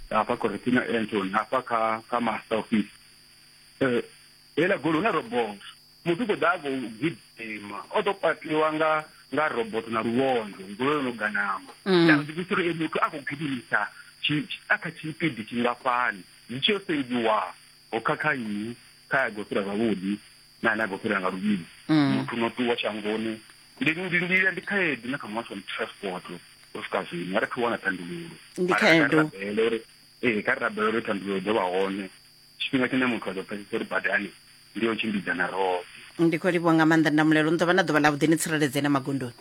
I: hafha Cortina Anton hafha kha kha master office. Eh heiḽa goloi hu na robot, muthu u khou ḓa a khou gidima o ḓo kwatiwa nga nga robot na luvhondo goloi yo no ganama.
C: Mm.
I: Ndi ḓi uri muthu a khou gidimisa a kha tshipidi tshingafhani zwi tshi yo sengiwa ho khakha nnyi kha ya khou fhira zwavhuḓi na ane a khou fhira nga luvhili. Muthu no ṱuwa shangoni ndi ndi ndi ndi khaedu na kha muhasho wa transport u swika zwino a ri thu wana thandululo.
C: Ndi khaedu.
I: Uri ee kha ri rabele uri thandululo ḓo vha hone tshifhinga tshine muthu a ḓo pfesesa uri badani ndi yo tshimbidzana roṱhe.
C: Ndi khou livhuwa nga maanḓa Ndamulelo, ni ḓo vha na ḓuvha ḽavhuḓi ni tsireledzee na magondoni.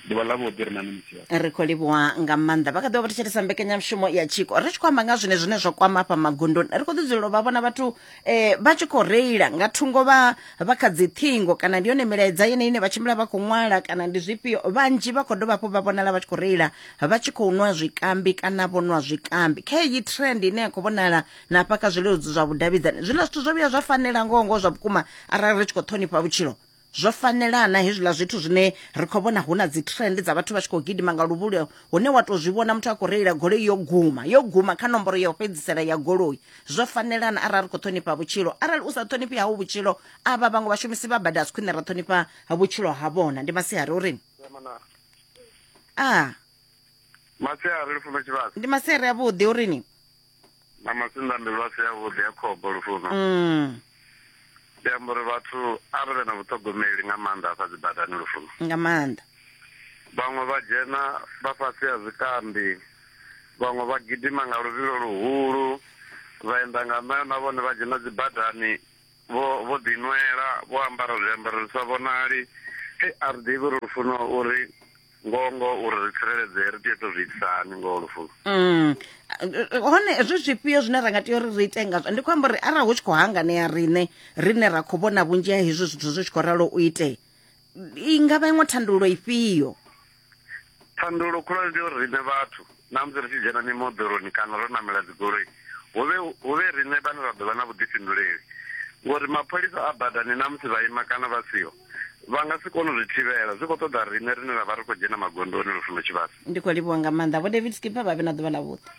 I: Ḓuvha ḽavhuḓi ri na misi.
C: Ri khou livhuwa nga maanḓa. Vha kha ḓi vha vha thetshelesa mbekanyamushumo ya tshiko ri tshi khou amba nga zwine zwine zwa kwama hafha magondoni. Ri khou ḓi dzulela u vha vhona vhathu eh, vha tshi khou reila nga thungo vha vha kha dzi ṱhingo kana ndi yone milaedza yene ine vha tshimbila vha khou ṅwala kana ndi zwifhio. Vhanzhi vha khou dovha hafhu vha vhonala vha tshi khou reila vha tshi khou nwa zwikambi kana vho nwa zwikambi. Kha heyi trend ine ya khou vhonala na hafha kha zwileludzi zwa vhudavhidzani, zwiḽa zwithu zwo vhuya zwa fanela ngoho ngoho zwa vhukuma arali ri tshi khou ṱhonifha vhutshilo. Zwo fanelana hezwiḽa zwithu zwine ri khou vhona hu na dzi trend dza vhathu vha tshi khou gidima nga luvhilo, hune wa tou zwi vhona muthu a khou reila goloi yo guma yo guma kha nomboro ya u fhedzisela ya goloi. Zwo fanelana arali ri khou ṱhonifha vhutshilo. Arali u sa ṱhonifhi hau vhutshilo, avha vhaṅwe vhashumisi vha bada a si khwine ra ṱhonifha vhutshilo ha vhona. Ndi masiari uri a
J: masiari Lufuno Tshivhase.
C: Ndi masiari avhuḓi urini?
J: Na masinḓambilu a si avhuḓi a khombo Lufuno.
C: Mm.
J: Ndi amba uri vhathu a vha vhe na vhuṱhogomeli nga maanḓa afha dzi badani Lufuno.
C: Nga maanḓa.
J: Vhaṅwe vha dzhena vha fhasi ha zwikambi, vhaṅwe vha gidima nga luvhilo luhulu, vha enda nga ṋayo na vhone vha dzhena dzi badani vho vho ḓinwela, vho ambara zwiambaro zwi sa vhonali. Hei, a ri ḓivhi uri Lufuno uri ngongo uri ri tsireledzee ri tea u tou zwi itisa hani ngoho Lufuno.
C: Mm. Hone zwi zwifhio zwine ra nga tea uri ri ite ngazwo? Ndi khou amba uri arali hu tshi khou hanganea riṋe rine ra khou vhona vhunzhi ha hezwi zwithu zwi tshi khou ralo u ite, i nga vha iṅwe thandululo ifhio?
J: Thandululo khulwane ndi uri riṋe vhathu na musi ri tshi dzhena mimoḓoroni kana ro namela dzigoloi, hu vhe hu vhe riṋe vhane ra ḓo vha na vhuḓifhinduleli, ngori mapholisa a badani na musi vha ima kana vha siho vha nga si kone u zwi thivhela. Zwi khou ṱoḓa riṋe rine ra vha ri khou dzhena magondoni Lufuno Tshivhase.
C: Ndi khou livhuwa nga maanḓa Vho David Skipper, vha vhe na ḓuvha ḽavhuḓi.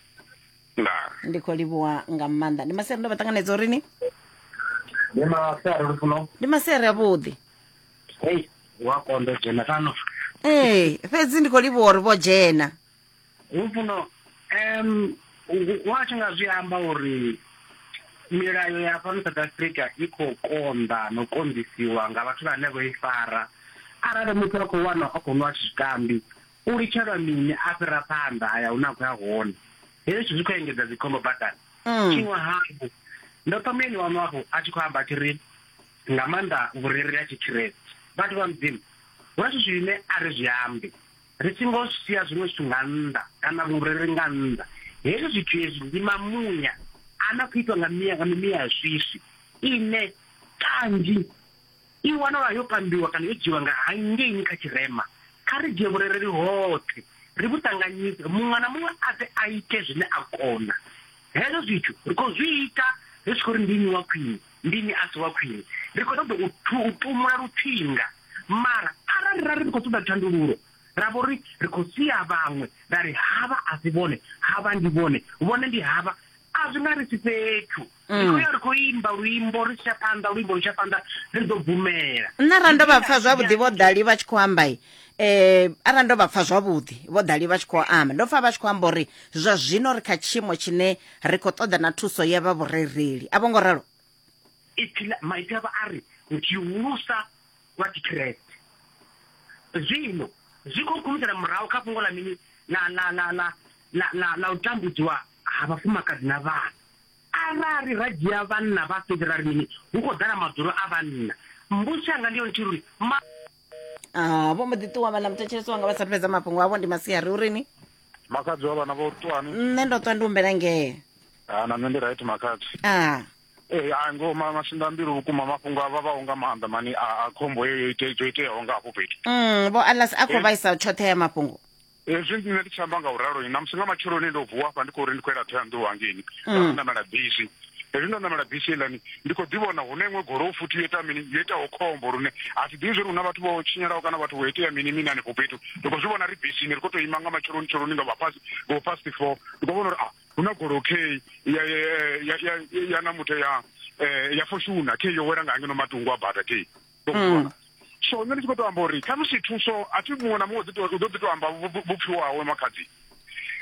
J: Ndaa.
C: Ndi khou livhuwa nga maanḓa. Ndi masiari, ndo vha ṱanganedza urini?
K: Ndi masiari Lufuno.
C: Ndi masiari avhuḓi.
K: Hei, wa konḓa u dzhena fhano.
C: Ee, fhedzi ndi khou livhuwa uri vho dzhena.
K: Lufuno, um wa tshi nga zwi amba uri milayo ya fhano South Africa i khou konḓa no konḓisiwa nga vhathu vhane vho i fara. Arali muthu a khou wana a khou nwa zwikambi, u litshelwa mini a fhira phanḓa a ya hune a khou ya hone. Hezwi zwithu zwi khou engedza dzikhombo badani. Tshiṅwe hafhu, ndo pfa muyeni waṋu afho a tshi khou amba a tshi ri nga maanḓa vhurereli ha tshikriste, vhathu vha Mudzimu hu na zwithu zwine a ri zwi ambi, ri songo sia zwiṅwe zwithu nga nnḓa kana vhurereli nga nnḓa. Hezwi zwithu hezwi ndi mamuya ana khou itwa nga miya nga mimuya ya swiswi ine kanzhi i wanala yo kambiwa kana yo dzhiwa nga hangeini kha tshirema. Kha ri dzhie vhurereli hoṱhe ri vhu ṱanganyise, muṅwe na muṅwe a ḓe a ite zwine a kona. Hezwo zwithu ri khou zwi ita ri tshi khou ri ndi nnyi wa khwine, ndi nnyi a si wa khwine. Ri khou ṱoḓa u tumula lutsinga, mara arali ra ri ri khou ṱoḓa thandululo ra vho ri ri khou sia vhaṅwe ra ri havha a si vhone, havha ndi vhone, vhone ndi havha, a zwi nga ri si fhethu. Ri khou ya ri khou imba luimbo ri tsha phanḓa, luimbo lu tsha phanḓa, ri ḓo bvumela.
C: Nṋe arali ndo vha pfa zwavhuḓi vho Dali vha tshi khou amba, eh arali ndo vha pfa zwavhuḓi vho Dali vha tshi khou amba, ndo pfa vha tshi khou amba uri zwa zwino ri kha tshiimo tshine ri khou ṱoḓa na thuso ya vha vhurereli. A vho ngo ralo?
K: Ipfi maipfi avho a ri tshihulusa wa tshikriste. Zwino zwi khou khumisela murahu kha fhungo ḽa mini ḽa ḽa ḽa ḽa ḽa ḽa ḽa u tambudziwa ha vhafumakadzi na vhana. Arali ra dzhia vhanna vha fhedzi ra ri mini, hu khou ḓala madzulo a vhanna. Mbudziso yanga ndi yone nthihi uri ma
C: Ah, vho mbo ḓi ṱuwa vhaḽa muthetshelesi wanga vha sa fhedza mafhungo avho. Ndi masiari urini?
L: Makhadzi wa vhana vho ṱuwani?
C: Nṋe ndo ṱwa ndi humbela ngee.
L: Ah, na nṋe ndi right makhadzi.
C: Ah.
L: Ee, a ngo masinḓambilu vhukuma mafhungo a vhavhaho nga maanḓa mani a khombo yeyo yo iteaho nga hafho fhethu.
C: Mm, vho Alas a khou vhaisa tshoṱhe ya mafhungo.
L: Hezwi nṋe ndi tshi amba nga u ralo, na musi nga matsheloni ndo vuwa hafha ndi khou ri ndi khou yela Thohoyandou hangeini, nda ṋamela bisi. Hezwi ndo ṋamela bisi heiḽani ndi khou ḓi vhona hune iṅwe goloi futhi yo ita mini, yo itaho khombo lune a thi ḓivhi zwori hu na vhathu vho tshinyalaho kana vhathu vho itea mini mini hanefho fhethu. Ndi khou zwi vhona ri bisini ri khou tou ima nga matsheloni tsheloni nga vha ngo past four, ndi khou vhona uri ah hu na goloi key ya ya ya ya na muthu ya ya Fortuner key yo wela nga ngeno matungo a bada key. So nṋe ndi tshi khou tou amba uri khamusi thuso a thi muṅwe na muṅwe u ḓo ḓi tou amba vhupfhiwa hawe makhadzi.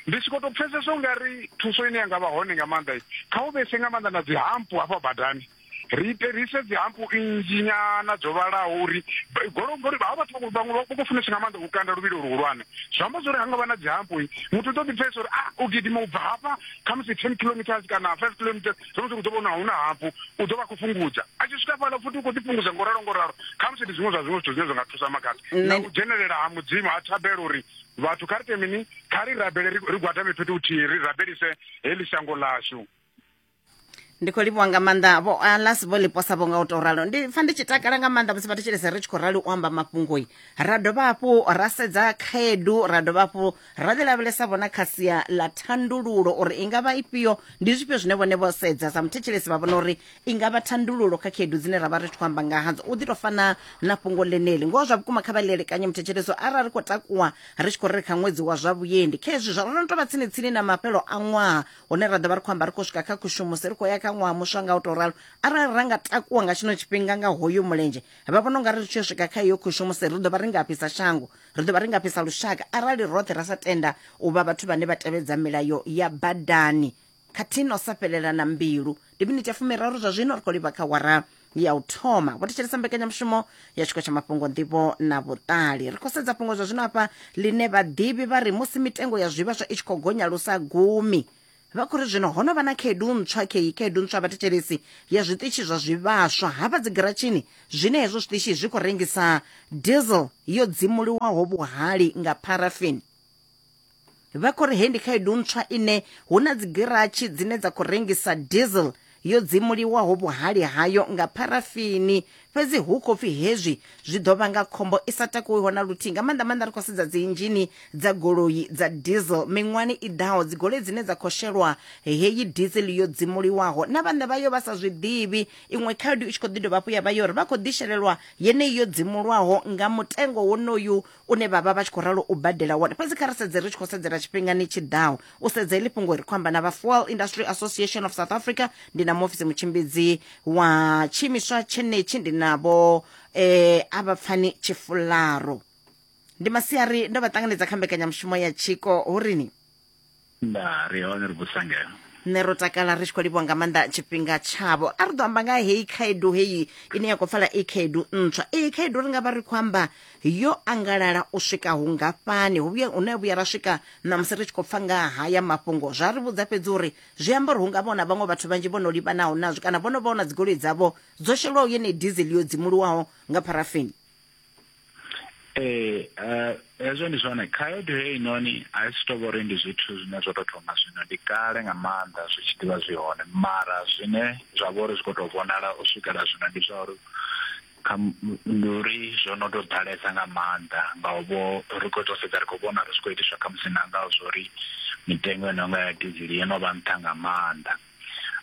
L: Ndi tshi khou tou pfesesa u nga ri thuso ine ya nga vha hone nga maanḓa kha hu vhese nga maanḓa na dzi hampu hafha badani, ri ite ri ise dzi hampu nnzhi nyana dzo vhalaho uri goloi, ngori havha vhathu vhaṅwe vha khou funesa nga maanḓa u kanda luvhilo luhulwane. Zwi amba zwori ha nga vha na dzi hampu muthu u ḓo ḓi pfesesa uri ah u gidima u bva hafha khamusi ten kilometers kana five kilometers, zwi amba uri u ḓo vhona hu na hampu u ḓo vha khou fhungudza, a tshi swika fhaḽa futhi u khou ḓi fhungudza ngo ralo ngo ralo. Khamusi ndi zwiṅwe zwa zwiṅwe zwithu zwine zwa nga thusa makhadzi na u dzhenelela ha Mudzimu ha thabelo uri vhathu kha ri ite mini, kha ri rabele ri gwadame fhethu huthihi ri rabelise heḽi shango ḽashu.
C: Ndi khou livhuwa nga maanḓa vho Alas vho liposa vho nga u tou ralo. Ndi pfa ndi tshi takala nga maanḓa musi vhathetshelesi ri tshi khou rali u amba mafhungoi, ra dovha hafhu ra sedza khaedu, ra dovha hafhu ra ḓi lavhelesa vhona kha sia ḽa thandululo uri i nga vha ifhio, ndi zwifhio zwine vhone vho sedza sa muthetshelesi vha vhona uri i nga vha thandululo kha khaedu dzine ra vha ri tshi khou amba nga hadzo. U ḓi tou fana na fhungo ḽeneḽi ngoho zwa vhukuma kha vha ḽielekanye muthetshelesi arali ri khou takuwa ri tshi khou ri kha ṅwedzi wa zwa vhuendi khezwi zwa ro no tou vha tsini tsini na mafhelo a ṅwaha hune ra ḓo vha ri khou amba ri khou swika kha kushumuse ri khou ya kha ṅwaha muswa nga u tou ralo. Arali ra nga takuwa nga tshino tshifhinga nga hoyu mulenzhe vha vhona unga ri tshi swika kha iyo kushumuse ri ḓo vha ri nga fhisa shango, ri ḓo vha ri nga fhisa lushaka arali roṱhe ra sa tenda u vha vhathu vhane vha tevhedza milayo ya badani khathihi na u sa fhelela na mbilu. Ndi miniti ya fumiraru zwa zwino ri khou livha kha wara ya u thoma. Vho thetshelesa mbekanyamushumo ya tshiko tsha mafhungo nḓivho na vhuṱali. Ri khou sedza fhungo zwa zwino hafha ḽine vhaḓivhi vha ri musi mitengo ya zwivhaswa i tshi khou gonya lusa gumi, vha khou ri zwino ho no vha na khaedu ntswa kheyi khaedu ntswa vhathetshelesi ya zwiṱitshi zwa zwivhaswa hafha dzigiratshini zwine hezwo zwiṱitshi zwi khou rengisa diesel yo dzimuliwaho vhuhali nga parafini. Vha khou ri hei ndi khaedu ntswa ine hu na dzigiratshi dzine dza khou rengisa diesel yo dzimuliwaho vhuhali hayo nga parafini, fhedzi hu khou pfi hezwi zwi ḓo vhanga khombo i sa takuwiho na luthihi. Nga maanḓa maanḓa ri khou sedza dzi inzhini dza goloi dza diesel miṅwani i ḓaho, dzigoloi dzine dza khou shelwa heyi diesel yo dzimuliwaho na vhaṋe vhayo vha sa zwi ḓivhi. Iṅwe khaedu i tshi khou ḓi dovha hafhu ya vha yo uri vha khou ḓi shelelwa yeneyi yo dzimulwaho nga mutengo wonoyu une vha vha vha tshi khou ralo u badela wone. Fhedzi kha ri sedze ri tshi khou sedzela tshifhingani tshi ḓaho u sedza heḽi fhungo ri khou amba na vha Fuel Industry Association of South Africa, ndi na muofisi mutshimbidzi wa tshiimiswa tshenetshi, ndi navho eh Avhapfani Tshifularo. Ndi masiari ndo vha ṱanganedza kha mbekanyamushumo ya tshiko hurini.
M: Nda ri hone ri vhusangelo.
C: Nṋe ro takala ri tshi khou livhuwa nga maanḓa tshifhinga tshavho. A ri ḓo amba nga heyi khaedu heyi ine ya khou pfala i khaedu ntswa. Iyi khaedu ri nga vha ri khou amba yo angalala u swika hungafhani, hu vhuya hune vhuya ra swika ṋamusi ri tshi khou pfa nga haya mafhungo zwa ri vhudza fhedzi uri zwi amba uri hu nga vhona vhaṅwe vhathu vhanzhi vho no livhanaho nazwo kana vho no vhona dzigoloi dzavho dzo shelwaho yeneyi diesel yo dzimuliwaho nga parafini.
M: Ee, hezwo ndi zwone. Khaedu heinoni a i si tou vha uri ndi zwithu zwine zwo tou thoma zwino, ndi kale nga maanḓa zwi tshi ḓivha zwi hone, mara zwine zwa vha uri zwi khou tou vhonala u swikela zwino ndi zwa uri ndi uri zwo no tou ḓalesa nga maanḓa, nga u vho ri khou tou sedza ri khou vhona ri zwi khou itiswa khamusi na nga zwa uri mitengo ino nga ya diesel yo no vha nṱha nga maanḓa.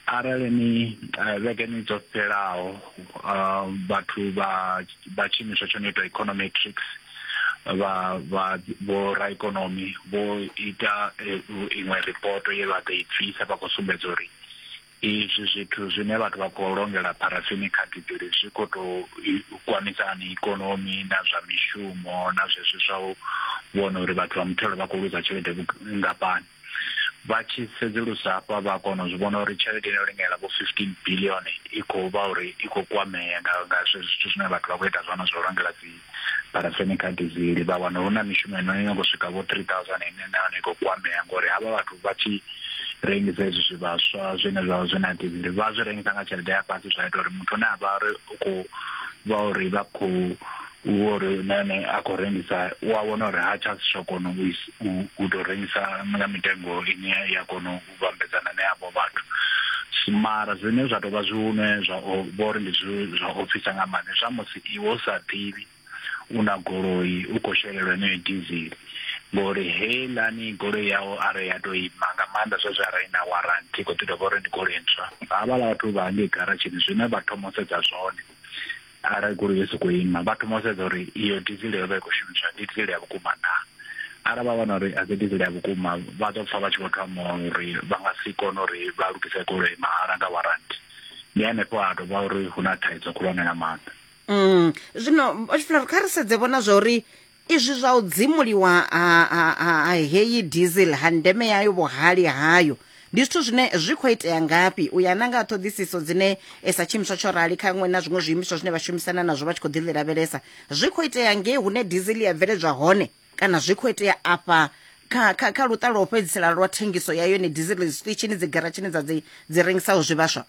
M: Arali ni vhegeni dzo fhelaho vhathu vha vha tshiimiswa tsho no itwa Econometrics vha vha vho raikonomi vho ita iṅwe ripoto ye vha ḓo i bvisa vha khou sumbedza uri izwi zwithu zwine vhathu vha khou longela parafini kha diesel zwi khou tou kwamisa hani ikonomi na zwa mishumo na zwezwi zwa u vhona uri vhathu vha muthelo vha khou luza tshelede nngafhani. Vha tshi sedzulusa hafha vha kona u zwi vhona uri tshelede ino lingela vho fifteen billion i khou vha uri i khou kwamea nga nga zwithu zwine vhathu vha khou ita zwone zwo longela dzi parafini kha diesel. Vha wana hu na mishumo ino ino khou swika vho three thousand ine na yone i khou kwamea ngori havha vhathu vha tshi rengisa hezwi zwivhaswa zwine zwa vha zwi na diesel vha zwi rengisa nga tshelede ya fhasi, zwa ita uri muthu ane a vha uri u khou vha uri vha khou uri nene a khou rengisa u a vhona uri ha tsha tsha kona u u tou rengisa nga mitengo ine ya kona u vhambedzana na yavho vhathu. Mara zwine zwa tou vha zwihune zwa vho uri ndi zwa ofisa nga maanḓa zwa musi iwe u sa ḓivhi u na goloi u khou shelelwa heneyo diesel, ngori heiḽani goloi yau arali ya tou ima nga maanḓa zwezwo arali na warranty i khou ḓi dovha uri ndi goloi ntswa, havhaḽa vhathu vha hangei garatshini zwine vha thoma u sedza zwone arali goloi yo sokou ima vha thoma u sedza uri iyo diesel yo vha i khou shumiswa ndi diesel ya vhukuma naa. Arali vha wana uri a si diesel ya vhukuma vha ḓo pfa vha tshi khou thoma uri vha nga si kone uri vha lugise goloi mahala nga warranty. Ndi hanefho ha tou vha uri hu na thaidzo khulwane nga maanḓa.
C: Mm. Zwino Tshifularo kha ri sedze vhona zwa uri izwi zwa u dzimuliwa ha heyi diesel ha ndeme yayo vhuhali hayo ndi zwithu zwine zwi khou itea ngafhi u ya na nga ṱhoḓisiso dzine sa tshiimiswa tsho rali kha ṅwe na zwiṅwe zwiimiswa zwine vha shumisana nazwo vha tshi khou ḓi lavhelesa, zwi khou itea ngei hune diesel ya bveledzwa hone kana zwi khou itea afha kha kha kha luṱa lwa u fhedzisela lwa thengiso ya yone diesel zwiṱitshini dzigaratshini dza dzi dzi rengisaho zwivhaswa?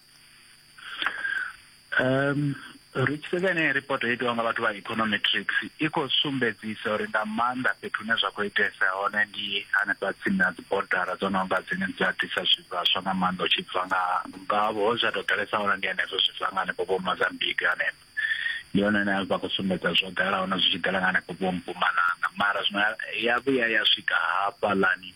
M: Um Ri tshi sedza ine report yo itiwa nga vhathu vha Econometrics i khou sumbedzisa uri nga maanḓa fhethu hune zwa khou itesa hone ndi hanefha tsini na dzi bodara dzo no nga dzine dza ḓisa zwivhaswa nga maanḓa u tshi bva nga nga ho zwa tou ḓalesa hone ndi hanefho zwi bva nga hanefho vho Mozambique hanefho. Ndi hone hune vha khou sumbedza zwo ḓala hone zwi tshi ḓala nga hanefho vho Mpumalanga, mara zwino ya vhuya ya swika hafhaḽani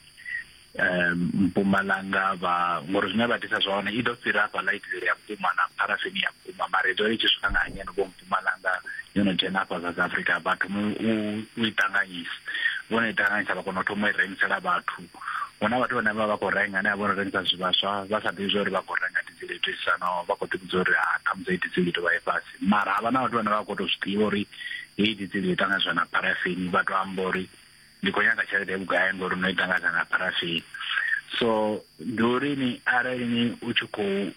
M: Mpumalanga vha ngori zwine vha ḓisa zwone i ḓo fhira hafhaḽa i ya vhukuma na pharafini ya vhukuma, mara i ḓo i tshi swika nga hangeno vho Mpumalanga yo no dzhena hafha South Africa vhathu u i ṱanganyisa, vho no i ṱanganyisa vha kona u thoma u i rengisela vhathu. Hu na vhathu vhane vha vha khou renga ane a vha rengisa zwivhaswa vha sa ḓivhi zwa uri vha khou renga dizele i itisaho, vha khou ḓivhudza uri ha khamusi dizele i tou vha i fhasi, mara havha na vhathu vhane vha khou tou zwi ḓivha uri heyi dizele i ṱanganyiswa na pharafini, vha tou amba uri ndi khou nyaga tshelede vhugai ngori no i ṱanganyisa na pharafini. So ndi uri ni arali ni u tshi khou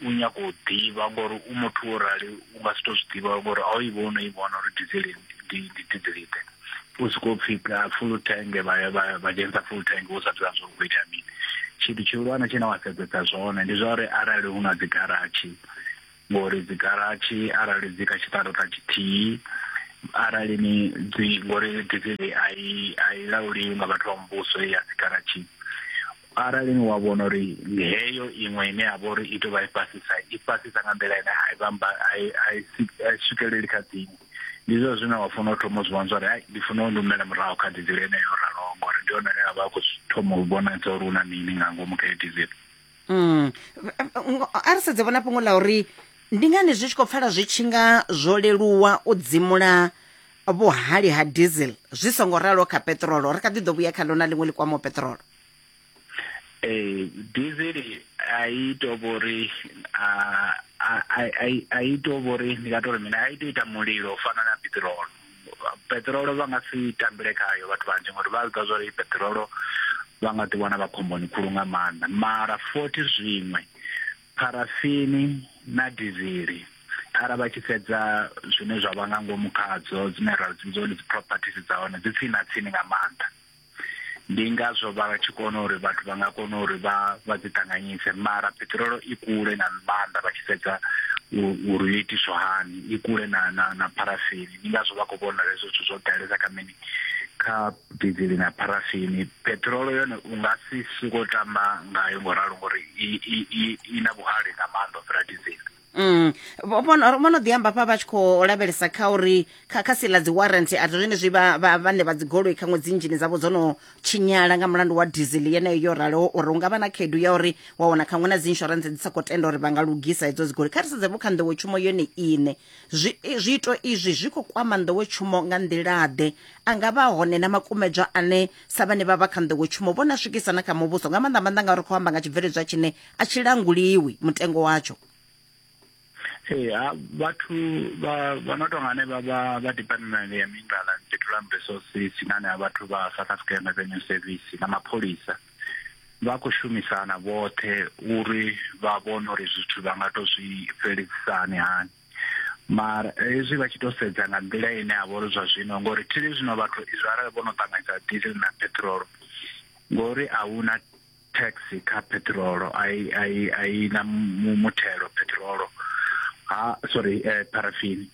M: u nyaga u ḓivha ngori u muthu wo rali u nga si tou zwi ḓivha ngori a u i vhona i vhona uri dizele ndi dizele ḓe, u sokou pfhi full tank vha vha vha dzhenisa full tank u sa ḓivha zwa uri itea mini. Tshithu tshihulwane tshine wa sedzesa zwone ndi zwa uri arali hu na dzi garatshi, ngori dzi garatshi arali dzi kha tshiṱaraṱa tshithihi arali ni dzi ngori dizele a i a i lauliwi nga vhathu vha muvhuso ya dzi garatshi, arali ni wa vhona uri heyo iṅwe ine ya vha uri i tou vha i fhasisa i fhasisa nga nḓila ine a i vhamba a i swikeleli kha dziṅwe, ndi zwone zwine wa funa u thoma u zwi vhona uri ndi funa u humela murahu kha dizele ine yo raloho ngori ndi yone ine ya vha khou thoma u vhonadza uri hu na mini nga ngomu kha dizele.
C: Mm. A ri sedze vhona fhungo ḽa uri ndi ngani zwi tshi khou pfala zwi tshi nga zwo leluwa u dzimula vhuhali ha diesel zwi songo ralo kha peṱirolo, ri kha ḓi ḓo vhuya kha ḽo na ḽiṅwe ḽi kwamaho peṱirolo.
M: Eh, diesel a i tou vhori a a i tou vhori ndi nga tou ri mina a i tou ita mulilo u fana na peṱirolo. Peṱirolo vha nga si tambele khayo vhathu vhanzhi ngori vha ḓivha zwa uri peṱirolo vha nga ḓi wana vha khomboni khulu nga maanḓa, mara fothi zwiṅwe pharafini na dizeli arali vha tshi sedza zwine zwa vha nga ngomu khadzo dzine ra dzi vhidza uri dzi properties dza hone dzi tsini na tsini nga maanḓa, ndi ngazwo vha tshi kona uri vhathu vha nga kona uri vha vha dzi ṱanganyise, mara peṱirolo i kule na maanḓa vha tshi sedza uri yo itiswa hani, i kule na na na pharafini, ndi ngazwo vha khou vhona hezwo zwithu zwo ḓalesa kha mini kha dizeli na pharafini. Peṱirolo yone u nga si sokou tamba ngayo ngo ralo ngori i i i na vhuhali nga maanḓa u fhira dizeli.
C: Mm. Vho no ḓi amba hafha vha tshi khou lavhelesa kha uri kha kha sila dzi warranty a zwenezwi vha vhane vha dzi goloi khaṅwe dzi nzhini dzavho dzo no tshinyala nga mulandu wa diesel yeneyo yo raloho, uri hu nga vha na khaedu ya uri wa wana khaṅwe na dzi insurance dzi sa khou tenda uri vha nga lugisa hedzo dzi goloi. Kha ri sedze vho kha nḓowetshumo yone iṋe, zwiito izwi zwi khou kwama nḓowetshumo nga nḓila ḓe? A nga vha hone na makumedzwa ane sa vhane vha vha kha nḓowetshumo vhona swikisa na kha muvhuso, nga maanḓa maanḓa ngauri khou amba nga tshibveledzwa tshine a tshi languliwi mutengo watsho.
M: Ee, vhathu vha vha no tonga hanevha vha vha department ya Mineral and Petroleum Resources na hanevha vhathu vha South African Revenue Service na mapholisa vha khou shumisana vhoṱhe uri vha vhone uri zwithu vha nga to zwi fhelisani hani. Mara hezwi vha tshi to sedza nga nḓila ine ya vha uri zwa zwino, ngori thili zwino vhathu izwi arali vho no ṱanganyisa diesel na petrol, ngori a hu na tax kha petrol, a i a i na muthelo petrol ha sorry eh, paraffin,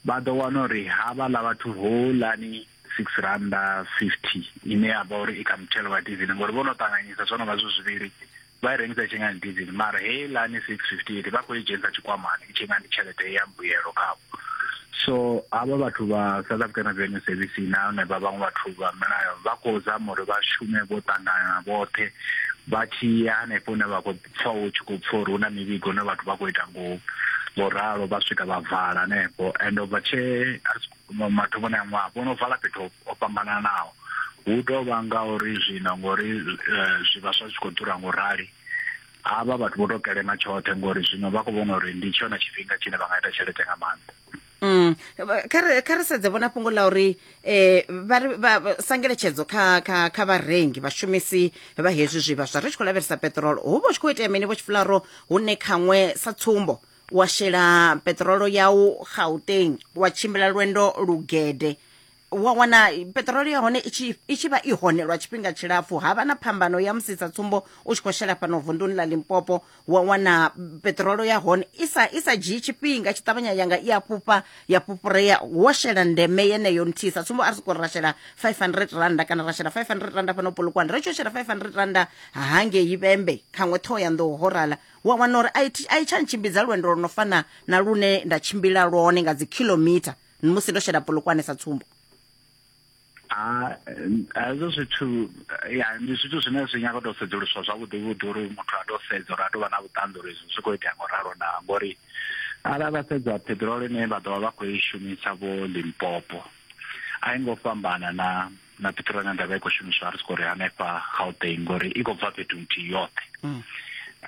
M: vha ḓo wana uri havhaḽa vhathu houḽani six randa fifty ine ya vha uri i kha muthelo wa diesel, ngori vho no ṱanganyisa zwo no vha zwi zwivhili vha i rengisa i tshi nga ndi diesel, mara heiḽani six fifty eight vha khou i dzhenisa tshikwamani i tshi nga ndi tshelede ya mbuyelo khavho. So havha vhathu vha South African Revenue Service na hone vha vhaṅwe vhathu vha milayo vha khou zama uri vha shume vho ṱangana vhoṱhe vha tshi ya hanefho hune vha khou pfha hu tshi khou pfha uri hu na mivhigo hune vhathu vha khou ita ngo ngo ralo, vha swika vha vala hanefho. And ubva tshe mathomoni a ṅwaha vho no vala fhethu ho fhambananaho, hu tou vha nga uri zwino ngori zwivhaswa zwi khou ḓura ngo rali, havha vhathu vho tou kelema tshoṱhe ngori zwino vha khou vhona uri ndi tshone tshifhinga tshine vha nga ita tshelede nga maanḓa.
C: Mm. Kha ri sedze vhona fhungo ḽa uri eh vha ri sangeletshedzo kha kha kha vharengi vhashumisi vha hezwi zwivhaswa ri tshi khou lavhelesa petrol, hu vha hu tshi khou itea mini vho Tshifularo hune khaṅwe sa tsumbo wa shela petrolo yau Gauteng wa tshimbila lwendo lugede Wa wana peṱirolo ya hone i tshi i tshi vha i hone lwa tshifhinga tshilapfu, ha vha na phambano ya musi sa tsumbo u tshi khou shela fhano vunduni ḽa Limpopo, wa wana peṱirolo ya hone i sa i sa dzhii tshifhinga, tshi ṱavhanya yanga i a fhufha ya fhufhurea wo shela ndeme yeneyo nthihi. Sa tsumbo a ri sokou ri ra shela five hundred randa kana ra shela five hundred randa fhano Polokwane, ri tshi shela five hundred randa hangei Vhembe khaṅwe Ṱhohoyanḓou ho rala, wa wana uri a i tsha ntshimbidza lwendo lwo no fana na lune nda tshimbila lwone nga dzi kilomita musi ndo shela Polokwane sa tsumbo.
M: A hezwo zwithu ya ndi zwithu zwine zwi nyaga u tou sedzuluswa zwavhuḓi vhuḓi uri muthu a tou sedza uri a tou vha na vhuṱanzi uri izwi zwi khou itea ngo ralo na, ngori arali vha sedza peṱirolo ine vha ḓovha vha khou i shumisa vho Limpopo a i ngo fhambana na na peṱirolo ine ndavha i khou shumiswa ri siko ri hanefha Gauteng, ngori i khou bva fhethu nthihi yoṱhe.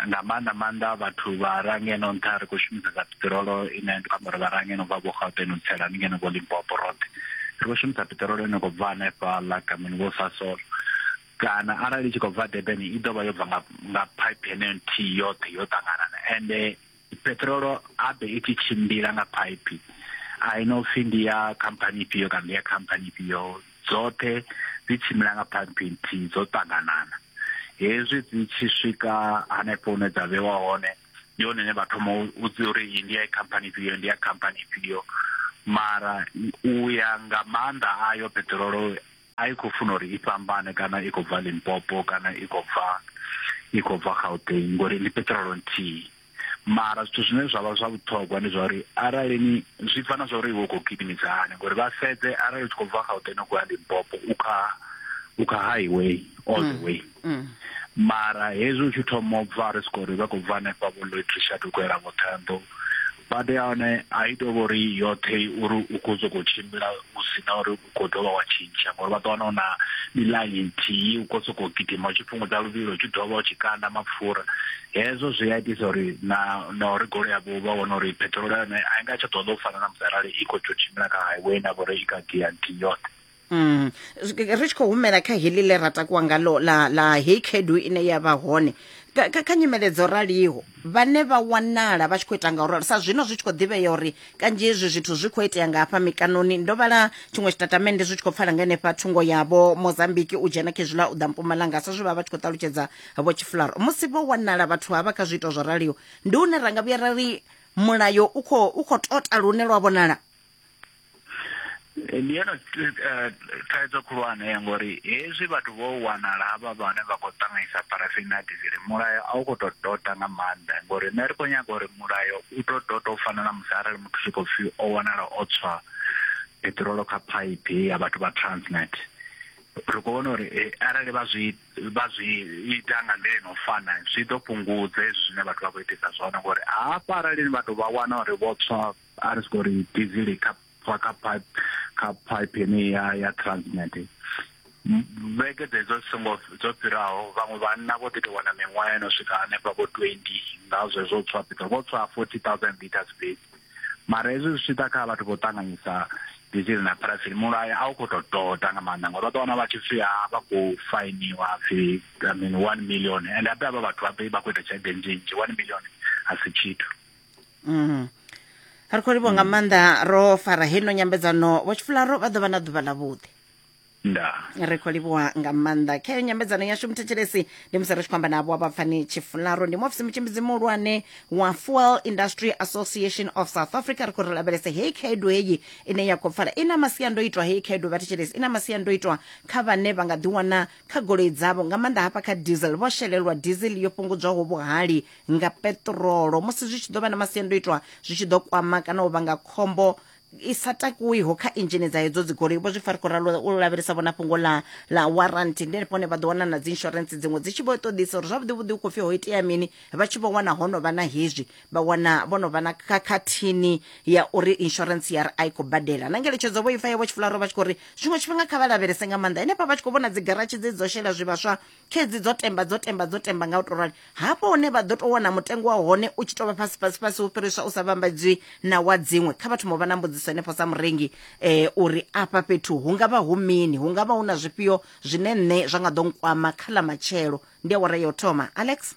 M: Nga maanḓa maanḓa vhathu vha ra ngeno nṱha ri khou shumisa dza peṱirolo ine ndi khou amba uri vha ra ngeno bva vho Gauteng u tsela ni ngeno vho Limpopo roṱhe ri khou shumisa peṱirolo ine khou bva hanefha ḽa Kamini vho Sasol, kana arali i tshi khou bva Durban i ḓo vha yo bva nga nga pipe yeneyo nthihi yoṱhe yo ṱanganana. Ende peṱirolo abe i tshi tshimbila nga pipe a i no pfhi ndi ya khamphani ifhio kana ndi ya khamphani ifhio, dzoṱhe dzi tshimbila nga pipe nthihi dzo ṱanganana. Hezwi dzi tshi swika hanefho hune dza vhewa hone ndi hone hune vha thoma u dzi uri iyi ndi ya khamphani ifhio ndi ya khamphani ifhio, mara u ya nga maanḓa ayo peṱirolo a i khou funa uri i fhambane kana i khou bva Limpopo kana i khou bva i khou bva Gauteng, ngori ndi peṱirolo nthihi. Mara zwithu zwine zwa vha zwa vhuṱhogwa ndi zwa uri arali ni zwi bva na zwa uri iwe u khou gidimisa hani, ngori vha sedze arali u tshi khou bva Gauteng u khou ya Limpopo u kha u kha highway all the way, mara hezwi u tshi thoma u bva ri siko ri vha khou bva hanefha vho Louis Trichardt u khou yela vho Ṱhohoyanḓou, bada ya hone a i tou vha uri yoṱhe uri u khou sokou tshimbila u sina uri u khou dovha wa tshintsha, ngori vha ḓo wana u na miḽaini nthihi u khou sokou gidima u tshi fhungudza luvhilo u tshi dovha u tshi kanda mapfura. Hezwo zwi a itisa uri na na uri goloi yavho vha wana uri peṱirolo ya hone a i nga tsha ṱoḓa u fana na musi arali i khou tou tshimbila kha highway na vhori i kha gia nthihi yoṱhe.
C: Mm. Ri tshi khou humela kha heḽi ḽe ra takuwa ngalo ḽa ḽa hei khaedu ine ya vha hone kha kha nyimele dzo raliho, vhane vha wanala vha tshi khou ita nga uralo sa zwino zwi tshi khou ḓivhea uri kanzhi hezwi zwithu zwi khou itea nga hafha mikanoni. Ndo vhala tshiṅwe tshitatamennde zwi tshi khou pfala nga henefha thungo ya vho Mozambique u dzhena khezwiḽa u ḓa Mpumalanga, sa zwe vha vha tshi khou ṱalutshedza vho Tshifularo. Musi vho wanala vhathu havha kha zwiito zwo raliho, ndi hune ra nga vhuya ra ri mulayo u khou u khou tota lune lwa vhonala.
M: Ndi yone thaidzo khulwane, ngori hezwi vhathu vho wanala havha vhane vha khou ṱanganyisa parafini na dizele, mulayo a u khou tou tota nga maanḓa, ngori nṋe ri khou nyaga uri mulayo u tou tota u fana na musi arali muthu tshi khou pfhi o wanala o tswa peṱirolo kha phaiphi ya vhathu vha Transnet. Ri khou vhona uri arali vha zwi vha zwi ita nga nḓila ino fana zwi ḓo fhungudza hezwi zwine vhathu vha khou itisa zwone, ngori hafha arali vhathu vha wana uri vho tswa a ri siko ri dizele kha kha pipe kha pipe ene ya ya Transnet, vhege dzedzo songo dzo fhiraho vhaṅwe vhanna vho ḓi tou wana miṅwaha ino swika hanefha vho twenty nga zwezwo tswa peṱirolo, vho tswa forty thousand liters fhedzi. Mara hezwi zwi tshi ḓa kha vhathu vho ṱanganyisa dizele na parafini, mulayo a u khou tou tota nga maanḓa, ngori vha ḓo wana vha tshi pfhi vha khou fainiwa pfhi I mean one million, and habe havha vhathu vha vha khou ita tshelede nnzhi, one million a si tshithu.
C: Mm. Ri khou livhuwa nga maanḓa ro fara heno nyambedzano. Vho Tshifularo vha ḓo vha na ḓuvha ḽa vhuḓi.
M: Nda.
C: Ri khou livhuwa nga maanḓa. Khayo nyambedzano yashu muthetshelesi ndi musi ri tshi khou amba navho vha Pfani Tshifularo, ndi muofisi mutshimbidzi muhulwane wa Fuel Industry Association of South Africa. Ri khou ri lavhelese hei khaedu heyi ine ya khou pfala i na masiandoitwa, hei khaedu vhathetshelesi i na masiandoitwa kha vhane vha nga ḓiwana kha goloi dzavho nga maanḓa hafha kha diesel, vho shelelwa diesel yo fhungudzwaho vhuhali nga peṱirolo, musi zwi tshi ḓo vha na masiandoitwa zwi tshi ḓo kwama kana u vhanga khombo i sa takuwiho kha inzhini dza hedzo dzigoloi. Vho zwi pfa ri khou ralo u lavhelesa vhona fhungo ḽa ḽa warranty, ndi henefho hone vha ḓo wana na dzi insurance dziṅwe dzi tshi vho ṱoḓisa uri zwavhuḓi vhuḓi hu khou pfhi ho itea mini, vha tshi vho wana ho no vha na hezwi, vha wana vho no vha na khakhathini ya uri insurance ya ri a i khou badela. Na ngeletshedzo vho ipfa ya vho Tshifularo vha tshi khou ri zwiṅwe tshifhinga kha vha lavhelese nga maanḓa henefha vha tshi khou vhona dzi garatshi dze dzo shela zwivhaswa khedzi dzo temba dzo temba dzo temba nga u tou rali, hafho hune vha ḓo tou wana mutengo wa hone u tshi tou vha fhasi fhasi fhasi u fhiriswa u sa vhambadzwi na wa dziṅwe. Kha vha thoma u vha na mbudziso henefho sa murengi eh, uri afha fhethu hu nga vha hu mini, hu nga vha hu na zwifhio zwine nṋe zwa nga ḓo nkwama kha ḽa matshelo. Ndi awara ya u thoma. Alex.